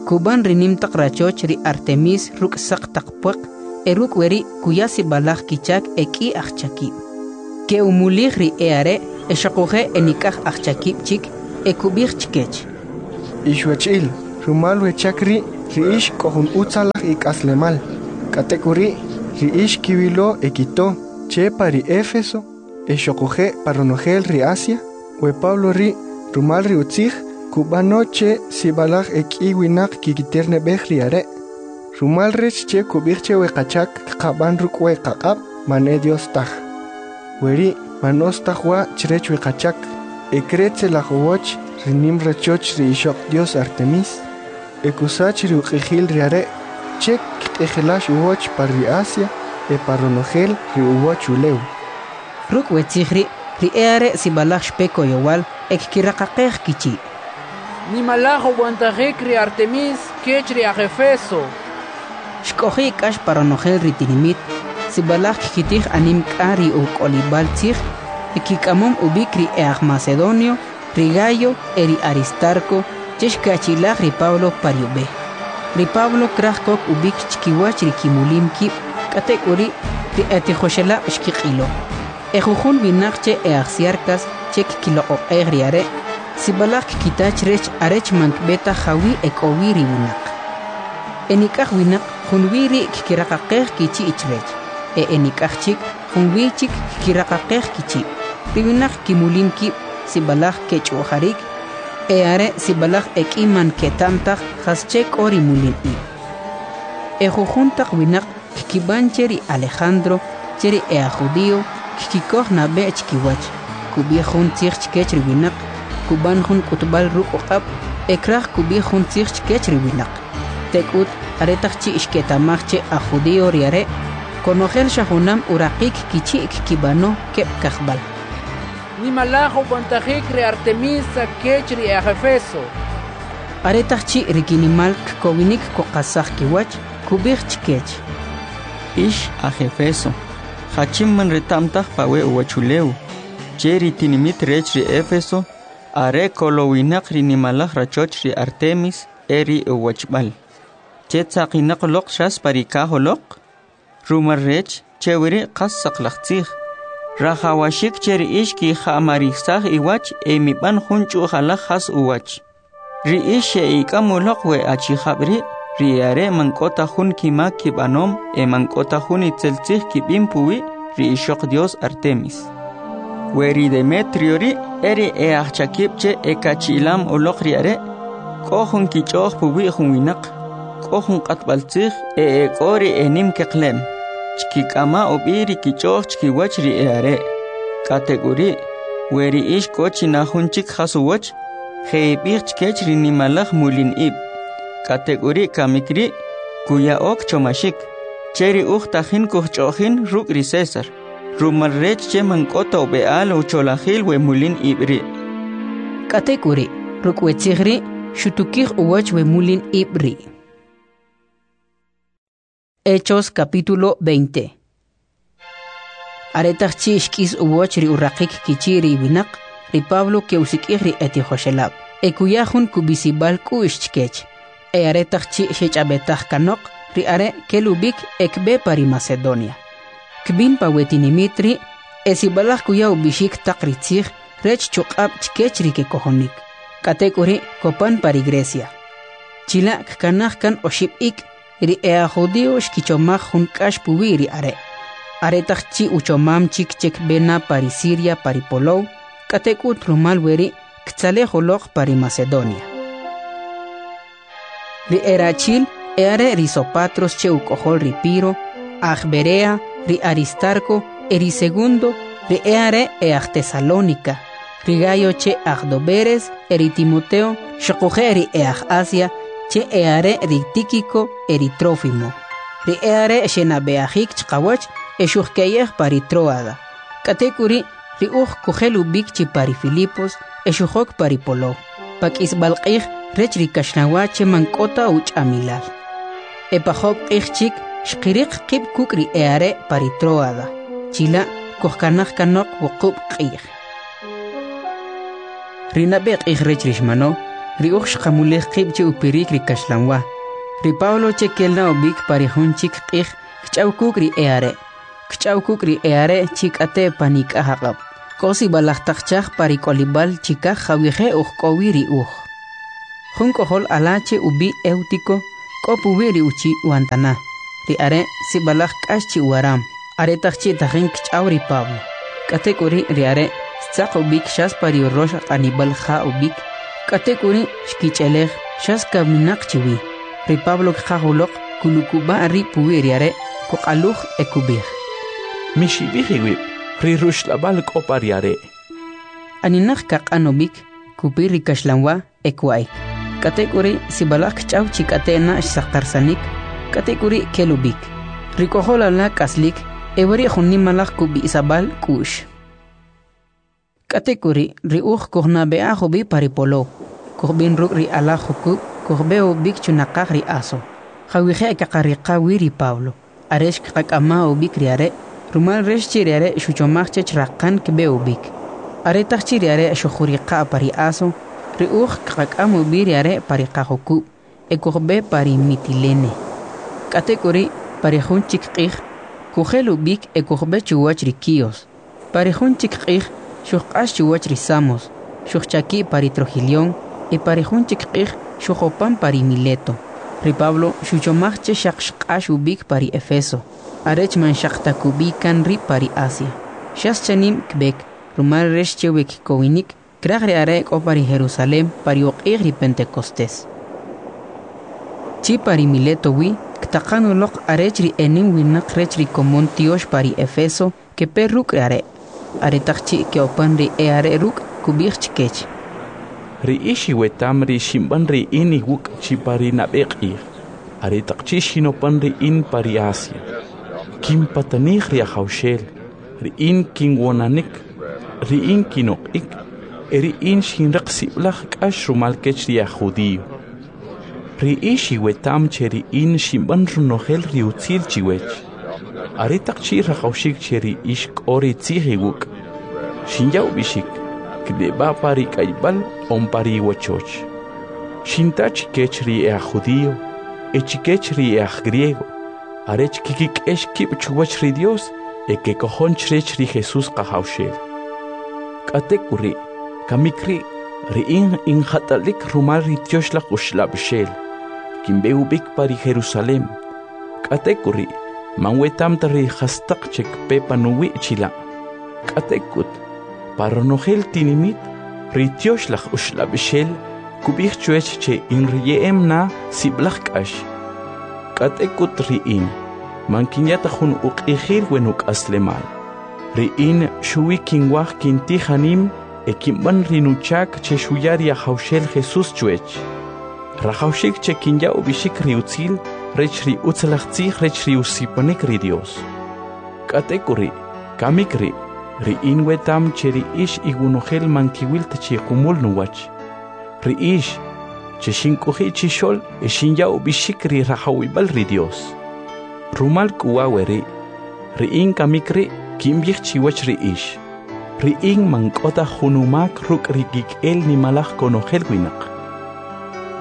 Kub'an ri nim taq rachoch ri Artemis ruk' saq taq pwaq, e ruk' weri' kuya sib'alaj kichak e k'i ajchakib'. Ke'umulij ri e'are' e xoquje' enik'aj ajchakib' chik e kub'ij chkech: Ix wachi'l, rumal we chak ri', ri ix k'o jun utzalaj ik'aslemal. K'atek'uri', ri ix kiwilo e kito che pa ri Éfeso e xoquje' pa ronojel ri Asia, we Pablo ri' rumal ri utzij kub'ano che sib'alaj e k'i winaq kikiterneb'ej ri are'. Rumal rech che kub'ij che we qachak kqab'an ruk' we qaq'ab' man e Dios taj. Weri' man utz taj wa' chrech we qachak, e kretzelaj uwach ri nim rachoch ri ixoq Dios Artemis, e kusach ri uq'ijil ri are' che kq'ijilax uwach pa ri Asia e pa ronojel ri uwach ulew. Ruk' we tzij ri', ri e'are' sib'alaj xpe koyowal e kkiraqaqej kichi'. Nimalaj ub'antajik ri Artemis kech ri aj Efeso! Xk'oji' k'ax pa ronojel ri tinimit, sib'alaj kkitij anim k'a ri uk'olib'al tzij e kik'amom ub'ik ri e'ajmacedonio, ri Gayo e ri Aristarco che xkachi'laj ri Pablo pa ri ub'e. Ri Pablo kraj kok ub'ik chkiwach ri kimulim kib', k'atek'uri' ri etijoxelab' xkiq'ilo. Ejujun winaq che e'ajsiarkas che kkiloq'oq'ej ri are', sib'alaj kkita chrech arech man kb'e taj jawi' ek'o wi ri winaq. Enik'aj winaq junwi ri' kkiraqaqej kichi' chrech, e enik'aj chik junwi chik kkiraqaqej kichi'. Ri winaq kimulim kib' sib'alaj kech'u'jarik, e are' sib'alaj ek'i man keta'm taj jasche k'o ri mulin ib'. Ejujun taq winaq kkib'an che ri Alejandro, che ri e'ajjudi'o kkikoj nab'e chkiwach, kub'ij jun tzij chkech ri winaq, kub'an jun k'utb'al ruk' uq'ab' e kraj kub'ij jun tzij chkech ri winaq. Tek'ut, aretaq chi' xketa'maj che ajjudi'o ri are', konojel xa junam uraqik kichi' kkib'ano keb' kajb'al. Nimalaj ub'antajik ri Artemisa kech ri e'aj Efeso! Aretaq chi' ri kinimal kkowinik kuqasaj kiwach, kub'ij chkech: Ix aj Efeso, jachin man reta'm taj pa we uwachulew, che ri tinimit rech ri Efeso are kolowinaq ri nimalaj rachoch ri Artemis e ri uwachb'al, che tzaqinaq uloq xas pa ri kaj uloq? Rumal rech che weri' qas saqlaj tzij, rajawaxik che ri ix kija'marisaj iwach e mib'an jun ch'u'jalaj jas uwach. Ri ix xe'ik'am uloq we achijab' ri', ri e'are' man k'o ta jun kimak kib'anom e man k'o ta jun itzel tzij kib'im puwi' ri ixoq Dios Artemis. We ri Demetrio ri' e ri e'ajchakib' che ekachi'lam uloq ri are', k'o jun kich'o'j puwi' jun winaq, k'o jun q'atb'altzij e ek'o ri enim keqlem, chkik'ama' ub'i ri kich'o'j chkiwach ri e'are'. K'atek'uri', we ri ix k'o chi na jun chik jas uwach, je'ib'ij chkech ri nimalaj mulin ib'. K'atek'uri' kamik ri' kuya'o kchomaxik, che ri uj tajin kujch'o'jin ruk' ri César, rumal rech che man k'o ta ub'e'al ucholajil we mulin ib' ri'. K'atek'uri', ruk' we tzij ri' xutukij uwach we mulin ib' ri'. Hechos capítulo 20. Aretaq chi' xk'is uwach ri uraqik kichi' ri winaq, ri Pablo ke'usik'ij ri etijoxelab' e kuya jun kub'isib'al k'u'x chkech. E aretaq chi' xech'ab'etaj kanoq, ri are' kel ub'ik e kb'e pa ri Macedonia. Kb'in pa we tinimit ri' e sib'alaj kuya ub'ixik taq ri tzij rech chuq'ab' chkech ri kekojonik. K'atek'uri' kopan pa ri Grecia. Chila' kkanaj kan oxib' ik', ri e'ajjudi'o xkichomaj jun k'ax puwi' ri are'. Aretaq chi' uchomam chik che kb'e na pa ri Siria pa ri polow, k'atek'ut rumal weri' ktzalej uloq pa ri Macedonia. Ri erachi'l e'are' ri Sopatros che uk'ojol ri Piro, aj Berea, ri Aristarco e ri Segundo, ri e'are' e'aj Tesalónica, ri Gayo che aj Doberes e ri Timoteo, xoquje' ri e'aj Asia, che e'are' ri Tíquico e ri Trófimo. Ri e'are' xenab'e'ajik chqawach e xujke'yej pa ri Troada. K'atek'uri', ri uj kujel ub'ik chi pa ri Filipos e xujok pa ri polow, pa k'isb'al q'ij rech ri kaxlanwa che man k'o ta uch'amilal. E pa job' q'ij chik xqiriq qib' kuk' ri e'are' pa ri Troada. Chila' kujkanaj kanoq wuqub' q'ij. Ri nab'e q'ij rech ri xmano, ri uj xqamulij qib' che upirik ri kaxlanwa. Ri Pablo che kel na ub'ik pa ri jun chik q'ij kch'aw kuk' ri e'are'. Kch'aw kuk' ri e'are' chi k'ate' panik'aj aq'ab'. K'o sib'alaj taq chaj pa ri k'olib'al chikaj jawije' uj k'o wi ri uj. Jun k'ojol ala che ub'i' Eutico k'o puwi' ri uchi' wantana. Ri are' sib'alaj k'ax chi uwaram, aretaq chi' tajin kch'aw ri Pablo. K'atek'uri' ri are' xtzaq ub'ik xas pa ri urox aq'anib'al ja ub'ik, k'atek'uri' xkich'elej xas kaminaq chi wi. Ri Pablo kqaj uloq, kulukub'a' rib' puwi' ri are', kuq'aluj e kub'ij: Mixib'ij iwib', ri ruxlab'al k'o pa ri are'. Aninaq kaq'an ub'ik, kupir ri kaxlanwa e kwa'ik. K'atek'uri' sib'alaj kch'aw chi k'ate' na xsaqarsanik, k'atek'uri' kel ub'ik. Ri k'ojol ala k'aslik e weri' jun nimalaj kub'isab'al k'u'x. K'atek'uri' ri uj kujnab'e'aj ub'i pa ri polow, kujb'in ruk' ri alaj jukub' kujb'e ub'ik chunaqaj ri Aso, jawije' kaqariqa wi ri Pablo, arech kqak'ama ub'ik ri are', rumal rech che ri are' xuchomaj chech raqan kb'e ub'ik. Aretaq chi' ri are' xujuriqa' pa ri Aso, ri uj kqak'am ub'i ri are' pa ri qajukub' e kujb'e pa ri Mitilene. K'atek'uri', pa ri jun chik q'ij, kujel ub'ik e kujb'e chuwach ri Quíos. Pa ri jun chik q'ij, xujq'ax chuwach ri Samos, xujchaki' pa ri Trogilión e pa ri jun chik q'ij xujopan pa ri Mileto. Ri Pablo xuchomaj che xaq xq'ax ub'ik pa ri Efeso, arech man xaq ta kub'i kan rib' pa ri Asia. Xas chanim kb'ek, rumal rech che we kkowinik, kraj ri are' k'o pa ri Jerusalem pa ri uq'ij ri Pentecostes. Chi pa ri Mileto wi, ktaqan uloq arech ri enim winaq rech ri komon tyox pa ri Efeso kepe ruk' ri are'. Aretaq chi' ke'opan ri e'are' ruk', kub'ij chkech: Ri ix iweta'm ri xinb'an ri in iwuk' chi pa ri nab'e q'ij, aretaq chi' xinopan ri in pa ri Asia. Kinpatanij ri Ajawxel, ri in kinwonanik, ri in kinoq'ik, e ri in xinriq sib'alaj k'ax rumal kech ri aj judío. Ri ix iweta'm che ri in xinb'an ronojel ri utzil chiwech. Aretaq chi' rajawxik che ri ix k'o ri tzij iwuk', xinya ub'ixik, kne'b'a' pa ri k'ayb'al on pa ri iwachoch. Xinta chikech ri e'aj judío e chikech ri e'aj griego, arech kikik'ex kib' chuwach ri Dios e kekojon chrech ri Jesús Qajawxel. K'atek'uri', kamik ri', ri in injat'alik rumal ri Tyoxlaj Uxlab'xel, kinb'e ub'ik pa ri Jerusalem. K'atek'uri', man weta'm ta ri jastaq che kpe panuwi' chila'. K'atek'ut, pa ronojel tinimit, ri Tyoxlaj Uxlab'xel kub'ij chwech che inriye'em na sib'alaj k'ax. K'atek'ut ri in, man kinya ta jun uq'ijil we nuk'aslemal. Ri in xuwi kinwaj kintij anim e kinb'an ri nuchak che xuya ri Ajawxel Jesús chwech. Rajawxik che kinya ub'ixik ri utzil rech ri utzalaj tzij rech ri usipanik ri Dios. K'atek'uri', kamik ri', ri in weta'm che ri ix iwonojel man kiwil ta chi jumul nuwach. Ri ix, che xink'oji' chixo'l e xinya ub'ixik ri rajawib'al ri Dios. Rumal k'u wa' weri', ri in kamik ri' kinb'ij chiwach ri ix. Ri in man k'o ta jun umak ruk' ri kik'el nimalaj konojel winaq.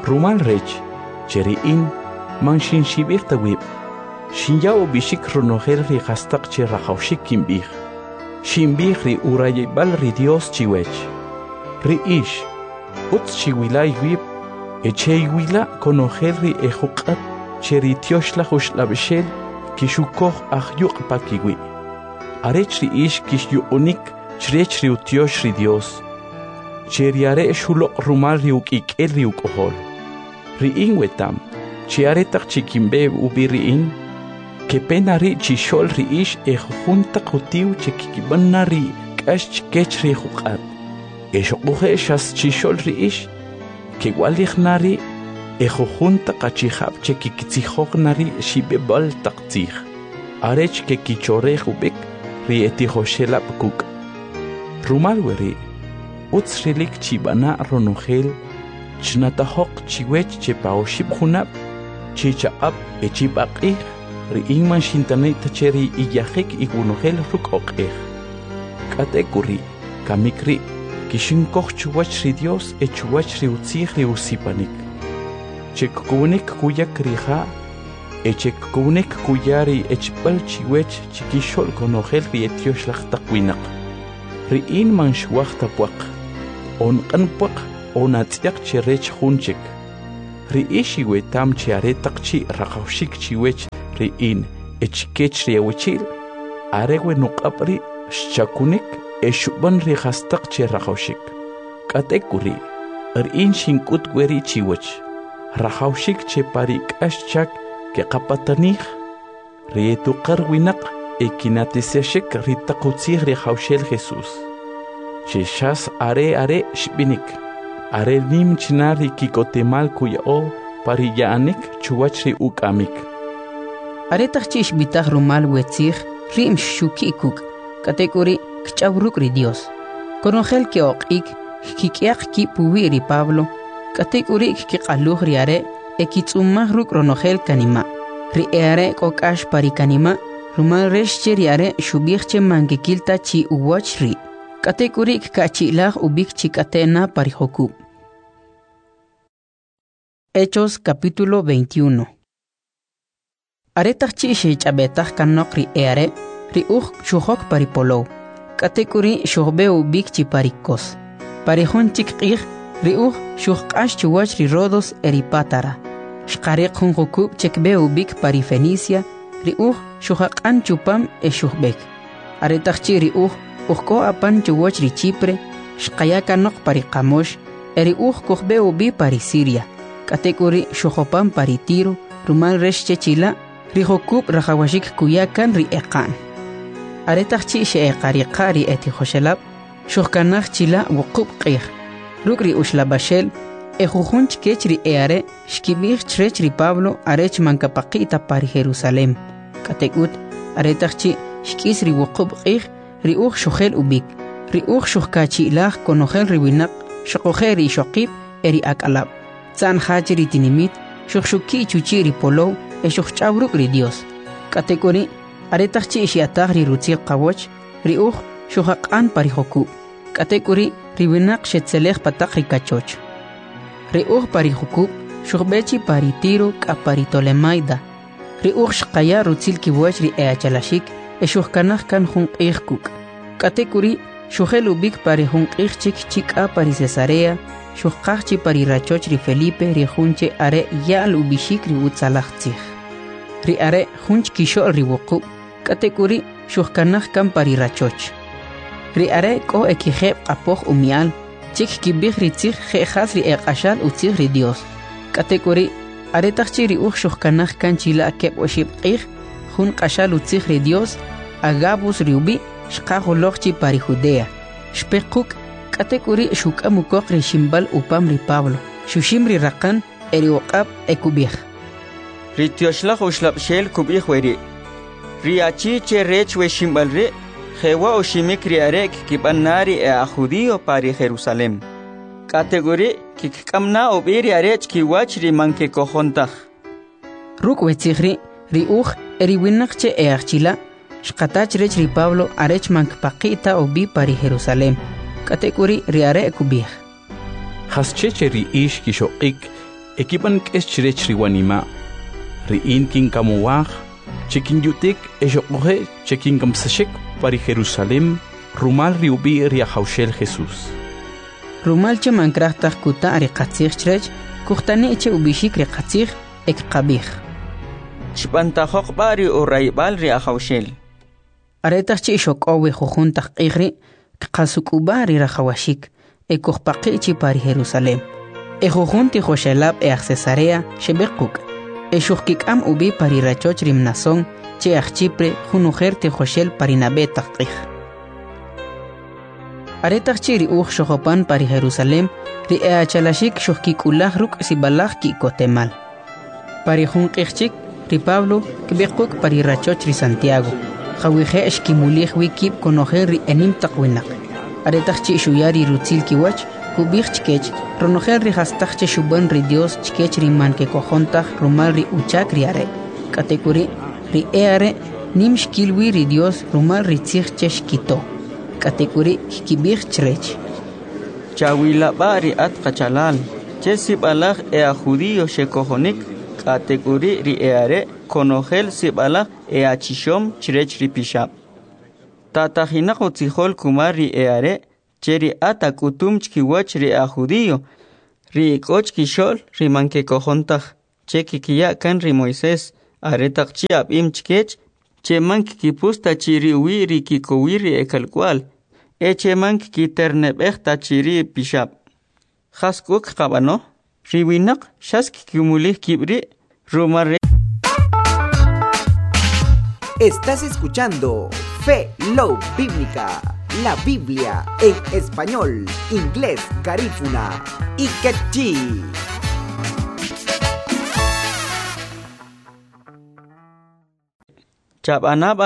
Rumal rech che ri in man xinxib'ij ta wib', xinya ub'ixik ronojel ri jastaq che rajawxik kinb'ij. Xinb'ij ri urayib'al ri Dios chiwech. Ri ix, utz chiwila iwib' e cheiwila konojel ri e juq'at che ri Tyoxlaj Uxlab'xel kixukoj ajyuq' pa kiwi'. Arech ri ix kixyuq'unik chrech ri utyox ri Dios, che ri are' xuloq' rumal ri uk'ik'el ri uk'ojol. Ri in weta'm, che aretaq chi kinb'e ub'i ri in, kepe na ri' chixo'l ri ix e jujun taq utiw che kkib'an na ri k'ax chkech ri juq'at. E xuquje' xas chixo'l ri ix, kewa'lij na ri' e jujun taq achijab' che kkitzijoj na ri xib'ib'al taq tzij, arech kekichorej ub'ik ri etijoxelab' kuk'. Rumal weri', utz rilik chib'ana' ronojel, chnatajoq chiwech che pa oxib' junab', chi chaq'ab' e chi paq'ij, ri in man xintani' ta che ri iyajik iwonojel ruk' oq'ej. K'atek'uri', kamik ri', kixinkoj chuwach ri Dios e chuwach ri utzij ri usipanik, che kkowinik kuyak ri ja' e che kkowinik kuya ri echb'al chiwech chikixo'l konojel ri etyoxlaj taq winaq. Ri in man xwaj ta pwaq, on q'an pwaq on atz'yaq che rech jun chik. Ri ix iwetam che are taq chi' rajawxik chiwech ri in e chikech ri awachi'l, are we nuq'ab' ri' xchakunik e xub'an ri jastaq che rajawxik. K'atek'uri', ri in xink'ut weri' chiwach, rajawxik che pa ri k'ax chak keqapatanij ri etuqar winaq e kinatisaxik ri taq utzij ri Ajawxel Jesús, che xas are are' xb'inik, are nim china ri ki'kotemal kuya'o pa ri ya'anik chuwach ri uk'amik. Aretaq chi' xb'itaj rumal we tzij ri' xxuki' kuk', k'atek'uri' kch'aw ruk' ri Dios. Konojel ke'oq'ik, kkik'yaq kib' puwi' ri Pablo, k'atek'uri' kkiq'aluj ri are' e kitz'umaj ruk' ronojel kanima'. Ri e'are' k'o k'ax pa ri kanima', rumal rech che ri are' xub'ij che man kekil ta chi uwach ri'. K'atek'uri' kkachi'laj ub'ik chi k'ate' na pa ri jukub'. Hechos capítulo 21. Aretaq chi' xech'ab'etaj kanoq ri e'are', ri uj xujok pa ri polow, k'atek'uri' xujb'e ub'ik chi pa ri Kos. Pa ri jun chik q'ij, ri uj xujq'ax chuwach ri Rodos e ri Pátara. Xqariq jun jukub' che kb'e ub'ik pa ri Fenicia, ri uj xujaq'an chupam e xujb'ek. Aretaq chi' ri uj k'o apan chuwach ri Chipre, xqaya kanoq pa ri qamox, e ri uj kujb'e ub'i pa ri Siria. K'atek'uri' xujopan pa ri Tiro, rumal rech che chila', ri jukub' rajawaxik kuya kan ri eqa'n. Aretaq chi' xe'eqariqa ri etijoxelab', xujkanaj chila' wuqub' q'ij. Ruk' ri uxlab'axel, e jujun chkech ri e'are' xkib'ij chrech ri Pablo arech man kapaqi' ta pa ri Jerusalem. K'atek'ut, aretaq chi' xk'is ri wuqub' q'ij, ri uj xujel ub'ik. Ri uj xujkachi'laj konojel ri winaq, xuquje' ri ixoqib' e ri ak'alab'. Tza'n ja che ri tinimit, xujxuki' chuchi' ri polow e xujch'aw ruk' ri Dios. K'atek'uri', aretaq chi' xya'taj ri rutzil qawach, ri uj xujaq'an pa ri jukub'. K'atek'uri', ri winaq xetzelej pa taq ri kachoch. Ri uj pa ri jukub' xujb'e chi pa ri Tiro k'a pa ri Tolemaida. Ri uj xqaya rutzil kiwach ri e'achalaxik e xujkanaj kan jun q'ij kuk'. K'atek'uri', xujel ub'ik pa ri jun q'ij chik chi k'a pa ri Cesarea, xujqaj chi pa ri rachoch ri Felipe ri jun che are' ya'l ub'ixik ri utzalaj tzij. Ri are' jun chkixo'l ri wuqub', k'atek'uri' xujkanaj kan pa ri rachoch. Ri are' k'o e kijeb' q'apoj umi'al, che kkib'ij ri tzij je' jas ri eq'axal utzij ri Dios. K'atek'uri', aretaq chi' ri uj xujkanaj kan chila' keb' oxib' q'ij, jun q'axal utzij ri Dios, Agabus ri ub'i', xqaj uloq chi pa ri Judea. Xpe quk', k'atek'uri' xuk'am ukoq ri ximb'al upam ri Pablo, xuxim ri raqan e ri uq'ab' e kub'ij: Ri tyoxlaj uxlab'xel kub'ij weri': Ri achi che rech we ximb'al ri', jewa' uximik ri are' kkib'an na ri e'aj judío pa ri Jerusalem. K'atek'uri' kkik'am na ub'i ri are' chkiwach ri man kekojon taj. Ruk' we tzij ri', ri uj e ri winaq che e'aj chila', xqata chrech ri Pablo arech man kpaqi' ta ub'i pa ri Jerusalem. K'atek'uri' ri are' kub'ij: Jasche che ri ix kixoq'ik e kib'an k'ex chrech ri wanima'? Ri in kinkamowaj che kinyutik e xuquje' che kinkamsaxik pa ri Jerusalem rumal ri ub'i' ri Ajawxel Jesús. Rumal che man kraj taj kuta' ri qatzij chrech, kujtani' che ub'ixik ri qatzij e kqab'ij: Chb'antajoq b'a' ri urayb'al ri Ajawxel. Aretaq chi' xok'ow we jujun taq q'ij ri', kqasuk'ub'a ri rajawaxik e kujpaqi' chi pa ri Jerusalem. E jujun tijoxelab' e aj Cesarea xeb'e quk', e xujkik'am ub'i pa ri rachoch ri Mnasón che aj Chipre, jun ujer tijoxel pa ri nab'e taq q'ij. Aretaq chi' ri uj xojopan pa ri Jerusalem, ri e'achalaxik xujkik'ulaj ruk' sib'alaj ki'kotemal. Pa ri jun q'ij chik, ri Pablo kb'e quk' pa ri rachoch ri Santiago, jawije' xkimulij wi kib' konojel ri enim taq winaq. Aretaq chi' xuya ri rutzil kiwach, kub'ij chkech ronojel ri jastaq che xub'an ri Dios chkech ri man kekojon taj rumal ri uchak ri are'. K'atek'uri', ri e'are' nim xkil wi ri Dios rumal ri tzij che xkito. K'atek'uri' kkib'ij chrech: Chawila b'a' ri at qachalal, che sib'alaj e'aj judío xekojonik, K'atek'uri' ri e'are' konojel sib'alaj e'achixom chrech ri pixab'. Tatajinaq utzijol kumal ri e'are' che ri at ak'utum chkiwach ri e'aj judío, ri ek'o chkixo'l ri man kekojon taj, che kkiya' kan ri Moisés, aretaq chi' ab'im chkech che man kkipus ta chi ri uwi' ri kikowil ri ekalk'uwa'l e che man kkiterne'b'ej ta chi ri pixab'. Jas k'u kqab'ano? Ri winaq xas kkimulij kib' ri' rumal rech. Estás escuchando Fe Love Bíblica, la Biblia en español, inglés, garífuna y quechí. Chab'ana b'a